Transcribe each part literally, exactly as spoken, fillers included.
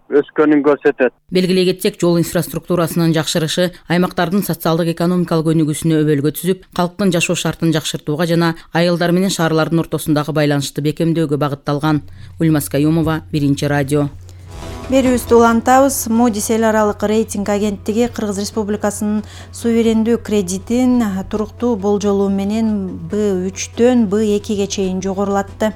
өскөнүн көрсөтөт. Белгилей кетсек, жол инфраструктурасынын жакшырышы аймактардын социалдык экономикалык өнүгүүсүнө өбөлгө түзүп, калктын жашоо шартын жакшыртууга жана айылдар менен шаарлардын ортосундагы байланышты бекемдөөгө багытталган. Ульмас Каюмова, Биринчи радио. Берүүбүздү улантабыз. Moody's эл аралык рейтинг агенттиги Кыргыз Республикасынын суверендүү кредитин туруктуу болжолу менен Б үчтөн Б экиге чейин жогорулатты.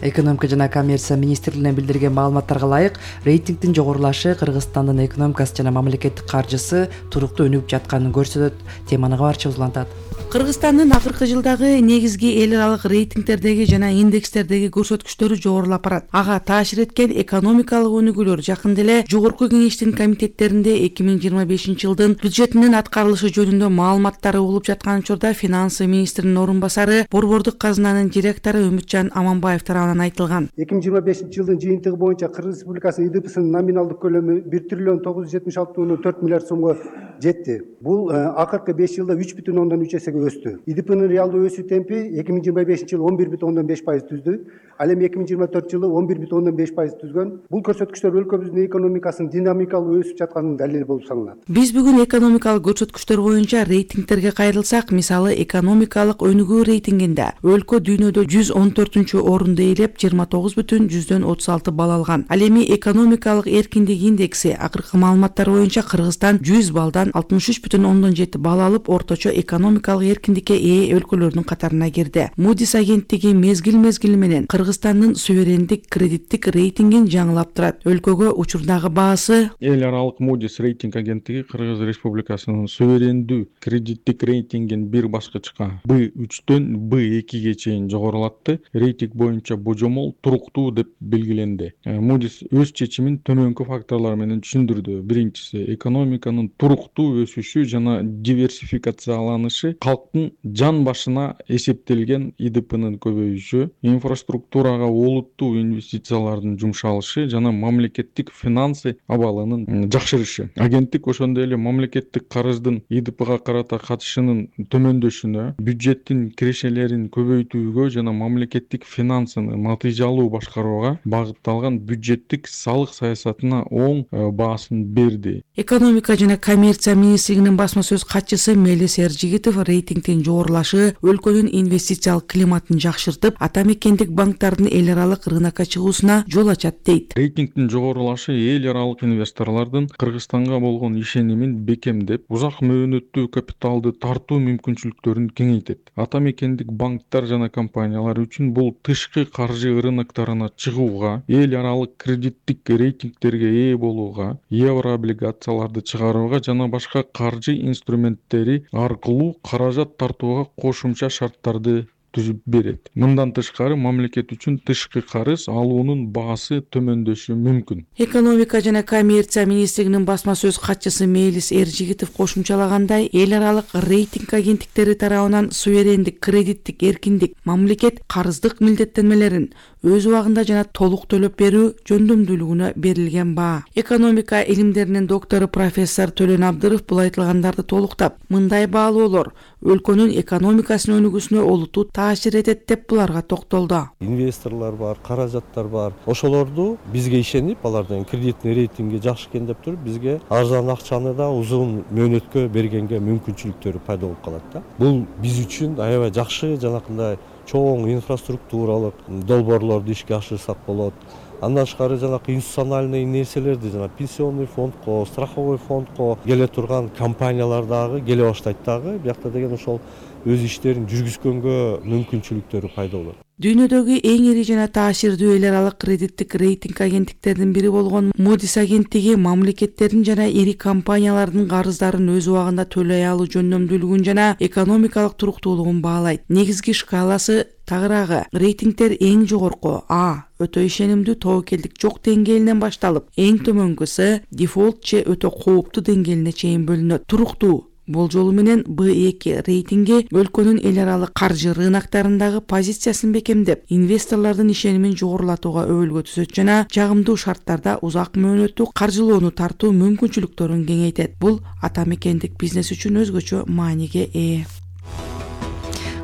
Экономика жана коммерция министрлигинен билдирген маалыматтарга ылайык, рейтингдин жогорулашы Кыргызстандын экономикасы жана мамлекеттик каржысы туруктуу өнүгүп жатканын көрсөтөт. Теманы кабарчыбыз улантат. Кыргызстандын акыркы жылдагы негизги эл аралык рейтингтердеги жана индекстердеги көрсөткүчтөрү жогорулап барат. Ага таасир эткен экономикалык өнүгүүлөр жакында эле Жогорку кеңештин комитеттеринде эки миң жыйырма бешинчи жылдын бюджетинин аткарылышы жөнүндө маалыматтары угулуп жаткан учурда финансы министринин орун басары, Борбордук казынанын директору Үмүтжан Аманбаев тарабынан айтылган. эки миң жыйырма бешинчи жылдын жыйынтыгы боюнча Кыргыз Республикасынын ИДПсынын номиналдык көлөмү бир триллион тогуз жүз жетимиш алты бүтүн төрт миллиард сомго жетти. Бул акыркы беш жылда үч бүтүн ондон үч эсеге өстү. ИДПнын реалдуу өсүү темпи эки миң жыйырма бешинчи жылы он бир бүтүн ондон беш пайыз түздү. Ал эми эки миң жыйырма төртүнчү жылы он бир бүтүн ондон беш пайыз түзгөн. Бул көрсөткүчтөр өлкөбүздүн экономикасынын динамикалуу өсүп жатканынын далили болуп саналат. Биз бүгүн экономикалык көрсөткүчтөр боюнча рейтингтерге кайрылсак, мисалы экономикалык өнүгүү рейтингинде өлкө дүйнөдө жүз он төртүнчү орунду ээлеп, жыйырма тогуз бүтүн жүздөн отуз алты балл алган. Ал эми экономикалык эркиндик индекси акыркы маалыматтар боюнча Кыргызстан жүз баллдан алтымыш үч бүтүн ондон жети балл алып, орточо экономикалык эркиндикке ээ өлкөлөрдүн катарына кирди. Moody's агенттиги мезгил-мезгили менен Кыргызстандын суверендик кредиттик рейтингин жаңылап турат. Өлкөгө учурдагы баасы эл аралык Moody's рейтинг агенттиги Кыргыз Республикасынын суверендүү кредиттик рейтингин бир баскычка Б үчтөн Б экиге чейин жогорулатты. Рейтинг боюнча божомол туруктуу деп белгиленди. Moody's өз чечимин төмөнкү факторлор менен түшүндүрдү. Биринчиси, экономиканын туруктуу өсүшү жана диверсификацияланышы, калктын жан башына эсептелген ИДПнын көбөйүшү, инфраструктурага олуттуу инвестициялардын жумшалышы жана мамлекеттик финансы абалынын жакшырышы. Агенттик ошондой эле мамлекеттик карыздын ИДПга карата катышынын төмөндөшүнө, бюджеттин кирешелерин көбөйтүүгө жана мамлекеттик финансыны натыйжалуу башкарууга багытталган бюджеттик салык саясатына оң баасын берди. Экономика жана коммерция министрлигинин басма сөз катчысы Мелис Эржигитов рейтингдин жогорулашы өлкөнүн инвестициялык климатын жакшыртып, ата мекендик банктардын эл аралык рынокко чыгуусуна жол ачат дейт. Рейтингдин жогорулашы эл аралык инвесторлордун Кыргызстанга болгон ишенимин бекемдеп, узак мөөнөттүү капиталды тартуу мүмкүнчүлүктөрүн кеңейтет. Ата мекендик банктар жана компаниялар үчүн бул тышкы каржы рыноктарына чыгууга, эл аралык кредиттик рейтингтерге ээ болууга, евро облигацияларды чыгарууга жана башка каржы инструменттери аркылуу каражат тартууга кошумча шарттарды түзүп берет. Мындан тышкары мамлекет үчүн тышкы карыз алуунун баасы төмөндөшү мүмкүн. Экономика жана коммерция министрлигинин басма сөз катчысы Мелис Эржигитов кошумчалагандай, эл аралык рейтинг агенттиктери тарабынан суверендик кредиттик эркиндик, мамлекет карыздык милдеттенмелерин өз убагында жана толук төлөп берүү жөндөмдүүлүгүнө берилген баа. Экономика илимдеринин доктору профессор Төлөн Абдыров бул айтылгандарды толуктап, мындай баалоолор өлкөнүн экономикасынын өнүгүүсүнө олуттуу таасир этет деп буларга токтолду. Инвесторлор бар, каражаттар бар. Ошолорду бизге ишенип, алардын кредитный рейтинги жакшы экен деп туруп, бизге арзан акчаны да узун мөөнөткө бергенге мүмкүнчүлүктөрү пайда болуп калат да. Бул биз үчүн аябай жакшы, жанакындай чоң инфраструктуралык долбоорлорду ишке ашырсак болот. Андан тышкары жанакы институциональный нерселерди, жана пенсионный фондко, страховой фондко келе турган компаниялар дагы келе баштайт дагы. Биякта деген ошол өз иштерин жүргүзгөнгө мүмкүнчүлүктөрү пайда болот. Дүйнөдөгү эң ири жана таасирдүү эл аралык кредиттик рейтинг агенттиктеринин бири болгон Moody's агенттиги мамлекеттердин жана ири компаниялардын карыздарын өз убагында төлөй алуу жөндөмдүүлүгүн жана экономикалык туруктуулугун баалайт. Негизги шкаласы тагыраагы. Рейтингтер эң жогорку А өтө ишенимдүү тобокелдик жок деңгээлинен башталып, эң төмөнкүсү дефолт же өтө кооптуу деңгээлине чейин бөлүнөт. Туруктуу болжолу менен Б эки рейтинги өлкөнүн эл аралык каржы рыноктарындагы позициясын бекемдеп, инвесторлордун ишенимин жогорулатууга өбөлгө түзөт жана жагымдуу шарттарда узак мөөнөттүү каржылоону тартуу мүмкүнчүлүктөрүн кеңейтет. Бул ата мекендик бизнес үчүн өзгөчө мааниге ээ.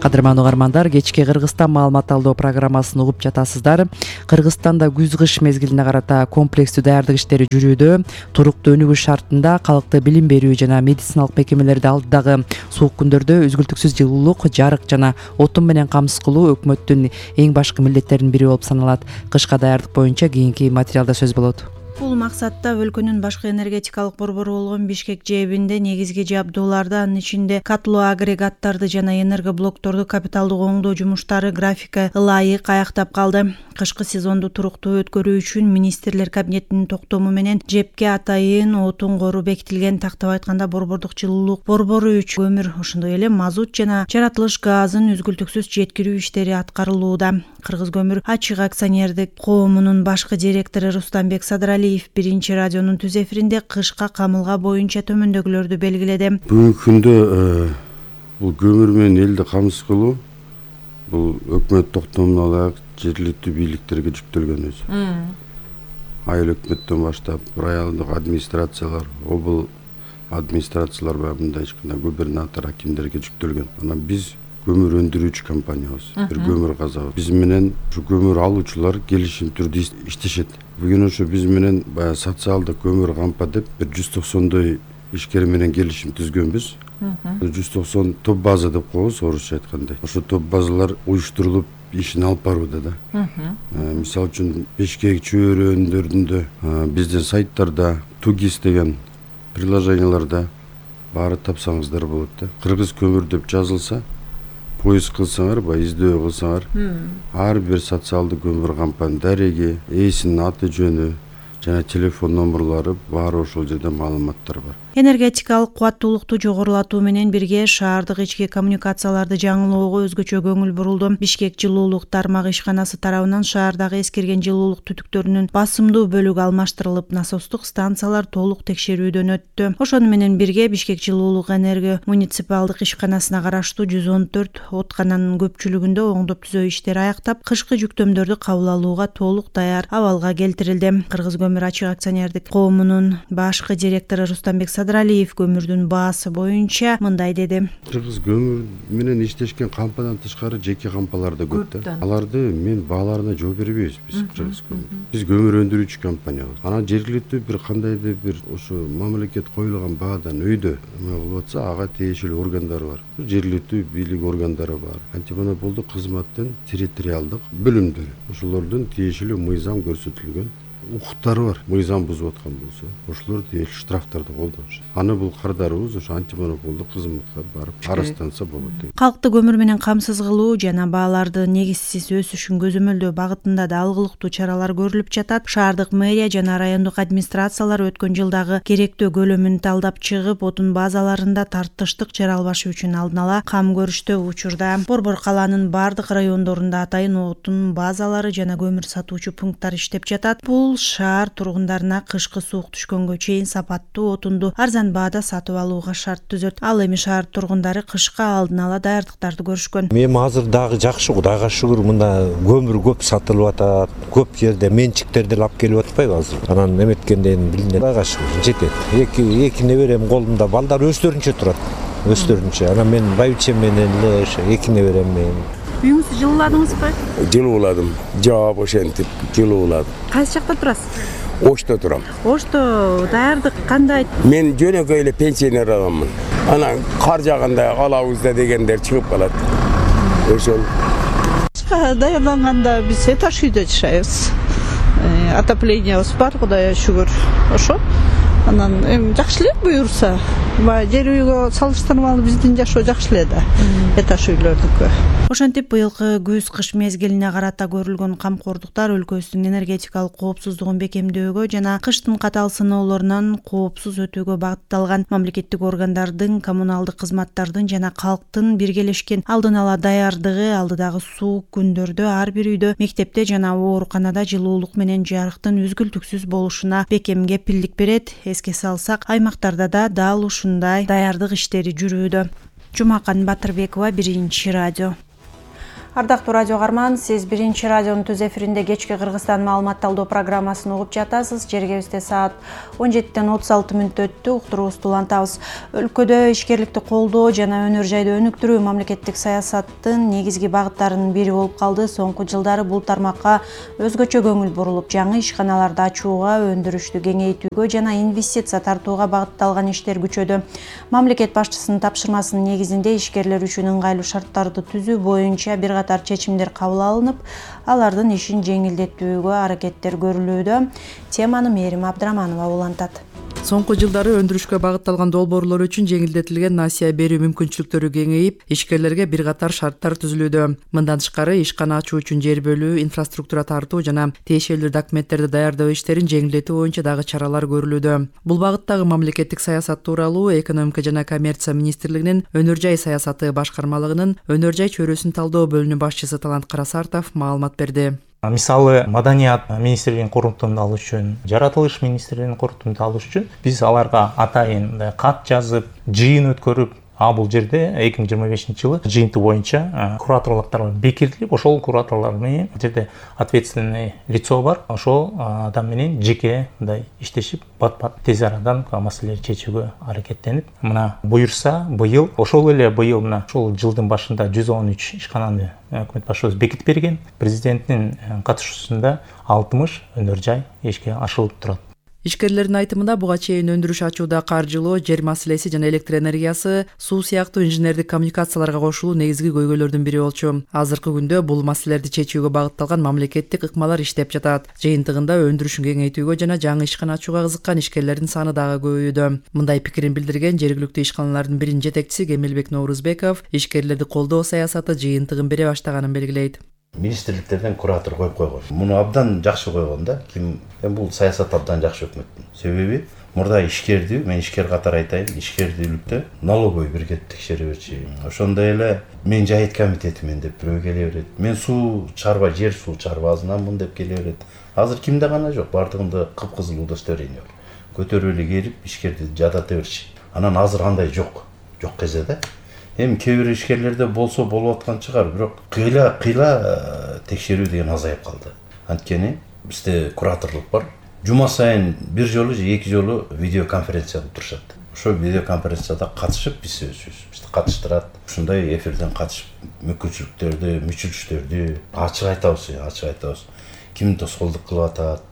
Кадырман угармандар, кечки Кыргызстан маалымат алдоо программасын угуп жатасыздар. Кыргызстанда күз-кыш мезгилине карата комплекстүү даярдык иштери жүрүүдө. Туруктуу өнүгүш шартында калкты билим берүү жана медициналык мекемелерди алдыдагы суук күндөрдө үзгүлтүксүз жылуулук, жарык жана отун менен камсыз кылуу өкмөттүн эң башкы милдеттеринин бири болуп саналат. Кышка даярдык боюнча кийинки материалда сөз болот. Бул максатта өлкөнүн башкы энергетикалык борбору болгон Бишкек ЖЭБинде негизги жабдууларды, анын ичинде катлоо агрегаттарды жана энергоблокторду капиталдык оңдоо жумуштары графика ылайык аяктап калды. Кышкы сезонду туруктуу өткөрүү үчүн министрлер кабинетинин токтому менен ЖЭБке атайын отун кору бекитилген. Тактап айтканда, борбордук жылуулук борбору үчүн көмүр, ошондой эле мазут жана жаратылыш газын үзгүлтүксүз жеткирүү иштери аткарылууда. Кыргыз көмүр ачык акционердик коомунун башкы директору Рустамбек Садралиев биринчи радионун түз эфиринде кышка камылга боюнча төмөндөгүлөрдү белгиледи. Бүгүнкү күндө бул көмүр менен элди камсыз кылуу бул өкмөт токтомуна ылайык жергиликтүү бийликтерге жүктөлгөн өзү. Айыл өкмөттөн баштап райондук администрациялар, обл администрациялар бар, мындай эч кандай губернатор, акимдерге жүктөлгөн. Анан биз көмүр өндүрүүчү компаниябыз, бир көмүр казабыз. Биз менен ушу көмүр алуучулар келишим түрдө иштешет. Бүгүн ошо биз менен баягы социалдык көмүр кампа деп бир жүз токсондой ишкер менен келишим түзгөнбүз. жүз токсон топ база деп коебуз, орусча айтканда. Ошо топ базалар уюштурулуп ишин алып барууда да. Мисалы үчүн Бишкек чөйрөндөрүндө, биздин сайттарда, Тугис деген приложенияларда баары тапсаңыздар болот да. Кыргыз көмүр деп жазылса, поиск кылсаңар, баягы издөө кылсаңар, ар бир социалдык көмүр кампанын дареги, ээсинин аты жөнү жана телефон номерлары баары ошол жерде маалыматтар бар. Энергетикалык кубаттуулукту жогорулатуу менен бирге шаардык ички коммуникацияларды жаңылоого өзгөчө көңүл бурулду. Бишкек жылуулук тармагы ишканасы тарабынан шаардагы эскирген жылуулук түтүктөрүнүн басымдуу бөлүгү алмаштырылып, насостук станциялар толук текшерүүдөн өттү. Ошону менен бирге Бишкек жылуулук энерго муниципалдык ишканасына караштуу жүз он төрт откананын көпчүлүгүндө оңдоп түзөө иштери аяктап, кышкы жүктөмдөрдү кабыл алууга толук даяр абалга келтирилди. Кыргыз көмүр ачык акционердик коомунун башкы директору Рустамбек Садралиев көмүрдүн баасы боюнча мындай деди. Кыргыз көмүр менен иштешкен кампадан тышкары жеке кампалар да көп да. Аларды мен бааларына жооп бербейбиз биз Кыргыз көмүр. Биз көмүр өндүрүүчү компаниябыз. Анан жергиликтүү бир кандайдыр бир ошо мамлекет коюлган баадан өйдө эме болуп атса, ага тиешелүү органдар бар. Жергиликтүү бийлик органдары бар. Антимонополдук кызматтын территориалдык бөлүмдөрү. Ошолордун тиешелүү мыйзам көрсөтүлгөн укуктары бар. Мыйзам бузуп аткан болсо, ошолор тиешелүү штрафтарды колдонушат. Аны бул кардарыбыз ошо антимонополдук кызматка барып арызданса болот. Калкты көмүр менен камсыз кылуу жана бааларды негизсиз өсүшүн көзөмөлдөө багытында да алгылыктуу чаралар көрүлүп жатат. Шаардык мэрия жана райондук администрациялар өткөн жылдагы керектөө көлөмүн талдап чыгып, отун базаларында тартыштык жаралбашы үчүн алдын ала кам көрүштө. Учурда борбор калаанын бардык райондорунда атайын отун базалары жана көмүр сатуучу пункттар иштеп жатат. Бул шаар тургундарына кышкы суук түшкөнгө чейин сапаттуу отунду арзан баада сатып алууга шарт түзөт. Ал эми шаар тургундары кышка алдын ала даярдыктарды көрүшкөн. Эми азыр дагы жакшы, Кудайга шүгүр, мында көмүр көп сатылып атат. Көп жерде менчиктерди алып келип атпайбы азыр. Анан эметкенден билинет. Кудайга шүгүр жетет. Эки эки неберем колумда, балдар өздөрүнчө турат. Өздөрүнчө. Анан мен байбичем менен эле ошо эки неберем менен. Үйүңүздү жылууладыңызбы? Жылууладым. Жаап ошентип жылууладым. Кайсы жакта турасыз? Ошто турам. Ошто даярдык кандай? Мен жөнөкөй эле пенсионер адаммын. Анан кар жаганда алабыз да дегендер чыгып калат. Ошол. Даярданганда биз этаж үйдө жашайбыз. Отоплениябыз бар, Кудайга шүгүр. Ошо. Анан эми жакшы эле буюрса. Баягы жер үйгө салыштырмалуу биздин жашоо жакшы эле да. Этаж үйлөрдүкү. Ошентип быйылкы күз-кыш мезгилине карата көрүлгөн камкордуктар өлкөбүздүн энергетикалык коопсуздугун бекемдөөгө жана кыштын катаал сыноолорунан коопсуз өтүүгө багытталган. Мамлекеттик органдардын, коммуналдык кызматтардын жана калктын биргелешкен алдын ала даярдыгы алдыдагы суук күндөрдө ар бир үйдө, мектепте жана ооруканада жылуулук менен жарыктын үзгүлтүксүз болушуна бекем кепилдик берет. Эске салсак, аймактарда да дал ушундай даярдык иштери жүрүүдө. Жумакан Батырбекова, Биринчи радио. Ардактуу радио каарман, сиз биринчи радионун түз эфиринде кечки Кыргызстан маалымат талдоо программасын угуп жатасыз. Жергебизде саат он жетиден отуз алты мүнөт өттү. Уктуруубузду улантабыз. Өлкөдө ишкерликти колдоо жана өнөр жайды өнүктүрүү мамлекеттик саясаттын негизги багыттарынын бири болуп калды. Соңку жылдары бул тармакка өзгөчө көңүл бурулуп, жаңы ишканаларды ачууга, өндүрүштү кеңейтүүгө жана инвестиция тартууга багытталган иштер күчөдү. Мамлекет башчысынын тапшырмасынын негизинде ишкерлер үчүн ыңгайлуу шарттарды түзүү боюнча бир катар чечимдер кабыл алынып, алардын ишин жеңилдетүүгө аракеттер көрүлүүдө. Теманы Мээрим Абдыраманова улантат. Соңку жылдары өндүрүшкө багытталган долбоорлор үчүн жеңилдетилген насыя берүү мүмкүнчүлүктөрү кеңейип, ишкерлерге бир катар шарттар түзүлүүдө. Мындан тышкары ишкана ачуу үчүн жер бөлүү, инфраструктура тартуу жана тиешелүү документтерди даярдоо иштерин жеңилдетүү боюнча дагы чаралар көрүлүүдө. Бул багыттагы мамлекеттик саясат тууралуу Экономика жана коммерция министрлигинин өнөр жай саясаты башкармалыгынын өнөр жай чөйрөсүн талдоо бөлүнүү башчысы Талант Карасартов маалымат берди. Мисалы, маданият министрлигинин куруктугун алыш үчүн, жаратылыш министрлигинин куруктугун алыш үчүн биз аларга атайын кат жазып, жыйын өткөрүп, а бул жерде эки миң жыйырма бешинчи жылы жыйынты боюнча кураторлуктар бекитилип, ошол кураторлор менен жерде ответственный лицо бар, ошол адам менен жеке мындай иштешип, бат-бат тез арадан маселелерди чечүүгө аракеттенип, мына буюрса быйыл, ошол эле быйыл мына ошол жылдын башында жүз он үч ишкананы өкмөт башчыбыз бекитип берген. Президенттин катышуусунда алтымыш өнөр жай ишке ашырылып турат. Ишкерлердин айтымында буга чейин өндүрүш ачууда каржылоо, жер маселеси жана электр энергиясы, суу сыяктуу инженердик коммуникацияларга кошулуу негизги көйгөйлөрдүн бири болчу. Азыркы күндө бул маселелерди чечүүгө багытталган мамлекеттик ыкмалар иштеп жатат. Жыйынтыгында өндүрүшүн кеңейтүүгө жана жаңы ишкана ачууга кызыккан ишкерлердин саны дагы көбөйүүдө. Мындай пикирин билдирген жергиликтүү ишканалардын биринин жетекчиси Кемелбек Ноурузбеков ишкерлерди колдоо саясаты жыйынтыгын бере баштаганын белгилейт. Министрликтерден куратор коюп койгон. Муну абдан жакшы койгон да. Ким бул саясат абдан жакшы өкмөттүн. Себеби мурда ишкерди, мен ишкер катары айтайын, ишкердүүлүктө налоговый бирге текшере берчи. Ошондой эле мен жайыт комитетимен деп бирөө келе берет. Мен суу чарба, жер суу чарбасынанмын деп келе берет. Азыр кимде гана жок, бардыгында кыпкызыл удостоверение бар. Көтөрүп эле келип ишкерди жадата берчи. Анан азыр андай жок. Жок кезде да. Эми кээ бир ишкерлерде болсо болуп аткан чыгар, бирок кыйла кыйла текшерүү деген азайып калды. Анткени бизде кураторлук бар. Жума сайын бир жолу же эки жолу видеоконференция кылып турушат. Ошол видеоконференцияда катышып биз өзүбүз бизди катыштырат. Ушундай эфирден катышып мүмкүнчүлүктөрдү, мүчүлүштөрдү ачык айтабыз, ачык айтабыз. Ким тоскоолдук кылып атат.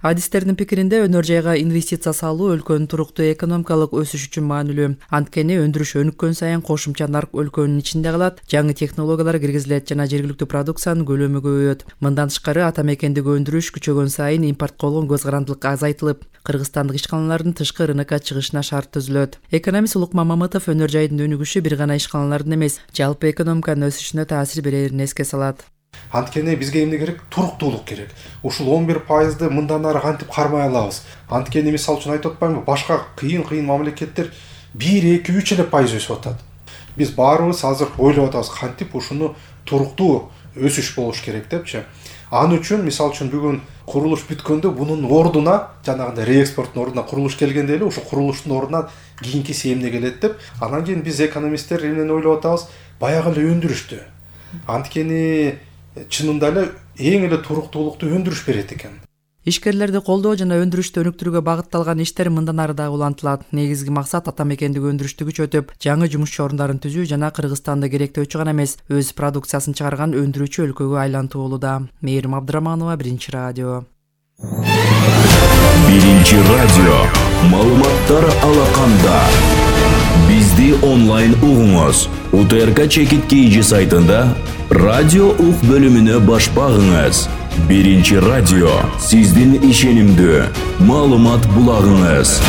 Адистердин пикиринде өнөр жайга инвестиция салуу өлкөнүн туруктуу экономикалык өсүш үчүн маанилүү. Анткени өндүрүш өнүккөн сайын кошумча нарк өлкөнүн ичинде калат, жаңы технологиялар киргизилет жана жергиликтүү продукциянын көлөмү көбөйөт. Мындан тышкары ата мекендеги өндүрүш күчөгөн сайын импортко болгон көз карандылык азайтылып, кыргызстандык ишканалардын тышкы рынокко чыгышына шарт түзүлөт. Экономист Улукман Мамытов өнөр жайдын өнүгүшү бир гана ишканалардын эмес, жалпы экономиканын өсүшүнө таасир берерин эске салат. Анткени бизге эмне керек? Туруктуулук керек. Ушул он бир пайызды мындан ары кантип кармай алабыз? Анткени мисалы үчүн айтып атпаймынбы? Башка кыйын-кыйын мамлекеттер бир, эки, үч эле пайыз өсүп атат. Биз баарыбыз азыр ойлоп атабыз, кантип ушуну туруктуу өсүш болуш керек депчи. Аны үчүн мисалы үчүн бүгүн курулуш бүткөндө бунун ордуна, жанагындай реэкспорттун ордуна курулуш келгенде эле ушул курулуштун ордуна кийинкиси эмне келет деп, анан кийин биз экономисттер эмнени ойлоп атабыз? Баягы эле өндүрүштү. Анткени чынында эле эң эле туруктуулукту өндүрүш берет экен. Ишкерлерди колдоо жана өндүрүштү өнүктүрүүгө багытталган иштер мындан ары дагы улантылат. Негизги максат ата мекендеги өндүрүштү күчөтүп, жаңы жумушчу ордундарын түзүү жана Кыргызстанда керектөөчү гана эмес, өз продукциясын чыгарган өндүрүүчү өлкөгө айлантуу болууда. Мээрим Абдыраманова, Биринчи радио. Биринчи радио. Маалыматтар алаканда. Бизди онлайн угуңуз. УТРК Чекит Кейжи сайтында радио ук бөлүмүнө баш багыңыз. Биринчи радио сиздин ишенимдүү маалымат булагыңыз.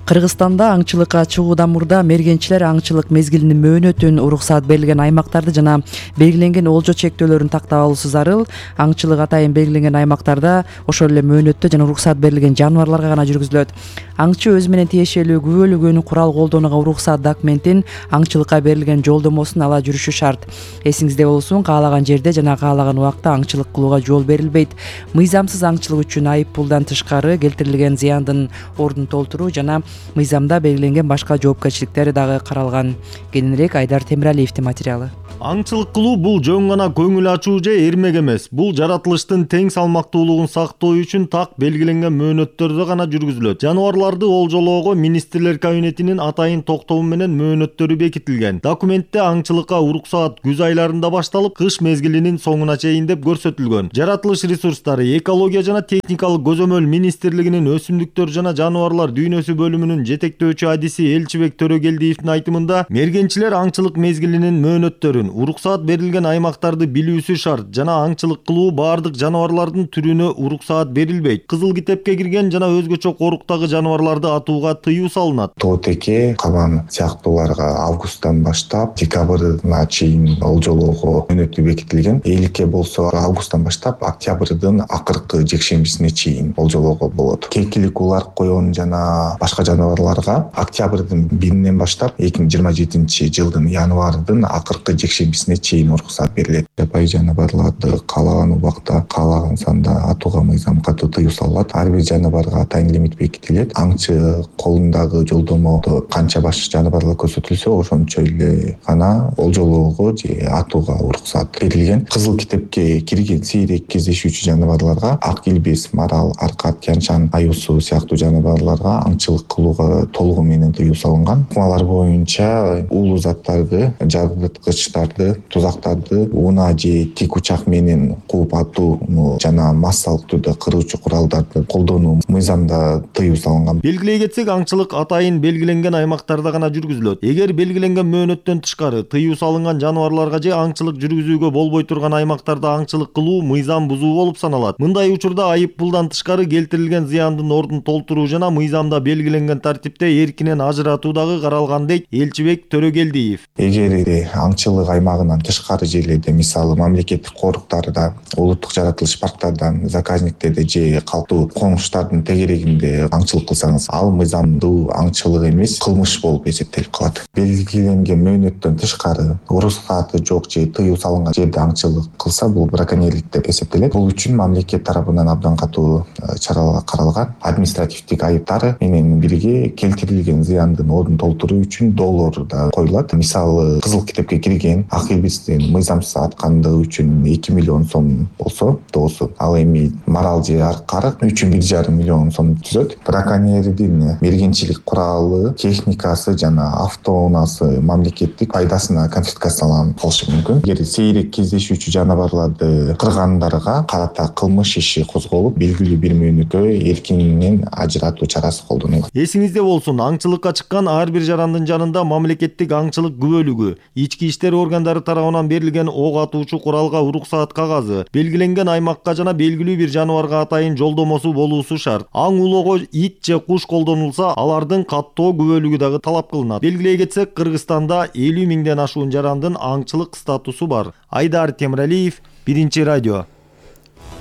Кыргызстанда аңчылыкка чыгуудан мурда мергенчилер аңчылык мезгилинин мөөнөтүн, уруксаат берилген аймактарды жана белгиленген олжо чектөөлөрүн тактап алуусу зарыл. Аңчылык атайын белгиленген аймактарда ошол эле мөөнөттө жана уруксаат берилген жаныбарларга гана жүргүзүлөт. Аңчы өзү менен тиешелүү күбөлүгүн, курал колдонууга уруксаат документин, аңчылыкка берилген жолдомосун ала жүрүшү шарт. Эсиңизде болсун, каалаган жерде жана каалаган убакта аңчылык кылууга жол берилбейт. Мыйзамсыз аңчылык үчүн айып пулдан тышкары келтирилген зыяндын ордун толтуруу жана мыйзамда белгиленген башка жоопкерчиликтер дагы каралган. Кененирээк Айдар Темиралиевдин материалы. Аңчылык кылуу бул жөн гана көңүл ачуу же эрмек эмес. Бул жаратылыштын тең салмактуулугун сактоо үчүн так белгиленген мөөнөттөрдө гана жүргүзүлөт. Жаныбарларды олжолоого министрлер кабинетинин атайын токтому менен мөөнөттөрү бекитилген. Документте аңчылыкка уруксаат күз айларында башталып, кыш мезгилинин соңуна чейин деп көрсөтүлгөн. Жаратылыш ресурстары, экология жана техникалык көзөмөл министрлигинин өсүмдүктөр жана жаныбарлар дүйнөсү бөлүмүнүн жетектөөчү адиси Элчибек Төрөгелдиевдин айтымында, мергенчилер аңчылык мезгилинин мөөнөттөрүн, уруксаат берилген аймактарды билүүсү шарт жана аңчылык кылуу баардык жаныбарлардын түрүнө уруксаат берилбейт. Кызыл китепке кирген жана өзгөчө коруктагы жаныбарларды атууга тыюу салынат. Тоотеке, кабан сыяктууларга августтан баштап декабрына чейин олжолоого мөөнөтү бекитилген. Эликке болсо августтан баштап октябрдын акыркы жекшембисине чейин олжолоого болот. Кекилик улар койон жана башка жаныбарларга октябрдын биринен баштап эки миң жыйырма жетинчи жылдын январдын акыркы жекшембисине чейин уруксаат берилет. Жапайы жаныбарларды каалаган убакта, каалаган санда атууга мыйзам катуу тыюу салынат. Ар бир жаныбарга атайын лимит бекитилет. Аңчы колундагы жолдомодо канча баш жаныбарлар көрсөтүлсө, ошончо эле гана олжолоого же атууга уруксаат берилген. Кызыл китепке кирген сейрек кездешүүчү жаныбарларга ак илбирс, марал, аркат, тянчан, аюусу сыяктуу жаныбарларга аңчылык кылууга толугу менен тыюу салынган. Ыкмалар боюнча уулуу заттарды, жарыткычтарды, тузактарды унаа же тик учак менен кууп атууну жана массалык түрдө кыруучу куралдарды колдонуу мыйзамда тыюу салынган. Белгилей кетсек, аңчылык атайын белгиленген аймактарда гана жүргүзүлөт. Эгер белгиленген мөөнөттөн тышкары тыюу салынган жаныбарларга же аңчылык жүргүзүүгө болбой турган аймактарда аңчылык кылуу мыйзам бузуу болуп саналат. Мындай учурда айып пулдан тышкары келтирилген зыяндын ордун толтуруу жана мыйзамда белгиленген тартипте эркинен ажыратуу дагы каралган дейт Элчибек Төрөгелдиев. Эгер аңчылык аймагынан тышкары жерлерде, мисалы мамлекеттик коруктарда, улуттук жаратылыш парктардан, заказниктерде же калктуу коңуштардын тегерегинде аңчылык кылсаңыз, ал мыйзамдуу аңчылык эмес, кылмыш болуп эсептелип калат. Белгиленген мөөнөттөн тышкары уруксааты жок же тыюу салынган жерде аңчылык кылса, бул браконьерлик деп эсептелет. Бул үчүн мамлекет тарабынан абдан катуу чаралар каралган. Административдик айыптары менен бирге келтирилген зыяндын ордун толтуруу үчүн доллар да коюлат. Мисалы, кызыл китепке кирген ак илбирстин мыйзамсыз аткандыгы үчүн эки миллион сом болсо, доосу, ал эми марал же аркарык үчүн бир жарым миллион сом түзөт. Браконьердин мергенчилик куралы, техникасы жана автоунаасы мамлекеттик пайдасына конфискацияланып калышы мүмкүн. Эгер сейрек кездешүүчү жаныбарларды кыргандарга карата кылмыш иши козголуп, белгилүү бир мөөнөткө эркинен ажыратуу чарасы колдонулат. Эсиңизде болсун, аңчылыкка чыккан ар бир жарандын жанында мамлекеттик аңчылык күбөлүгү, ички иштер органдары тарабынан берилген ок атуучу куралга уруксаат кагазы, белгиленген аймакка жана белгилүү бир жаныбарга атайын жолдомосу болуусу шарт. Аң улоого ит же куш колдонулса, алардын каттоо күбөлүгү дагы талап кылынат. Белгилей кетсек, Кыргызстанда элүү миңден ашуун жарандын аңчылык статусу бар. Айдар Темиралиев, Биринчи радио.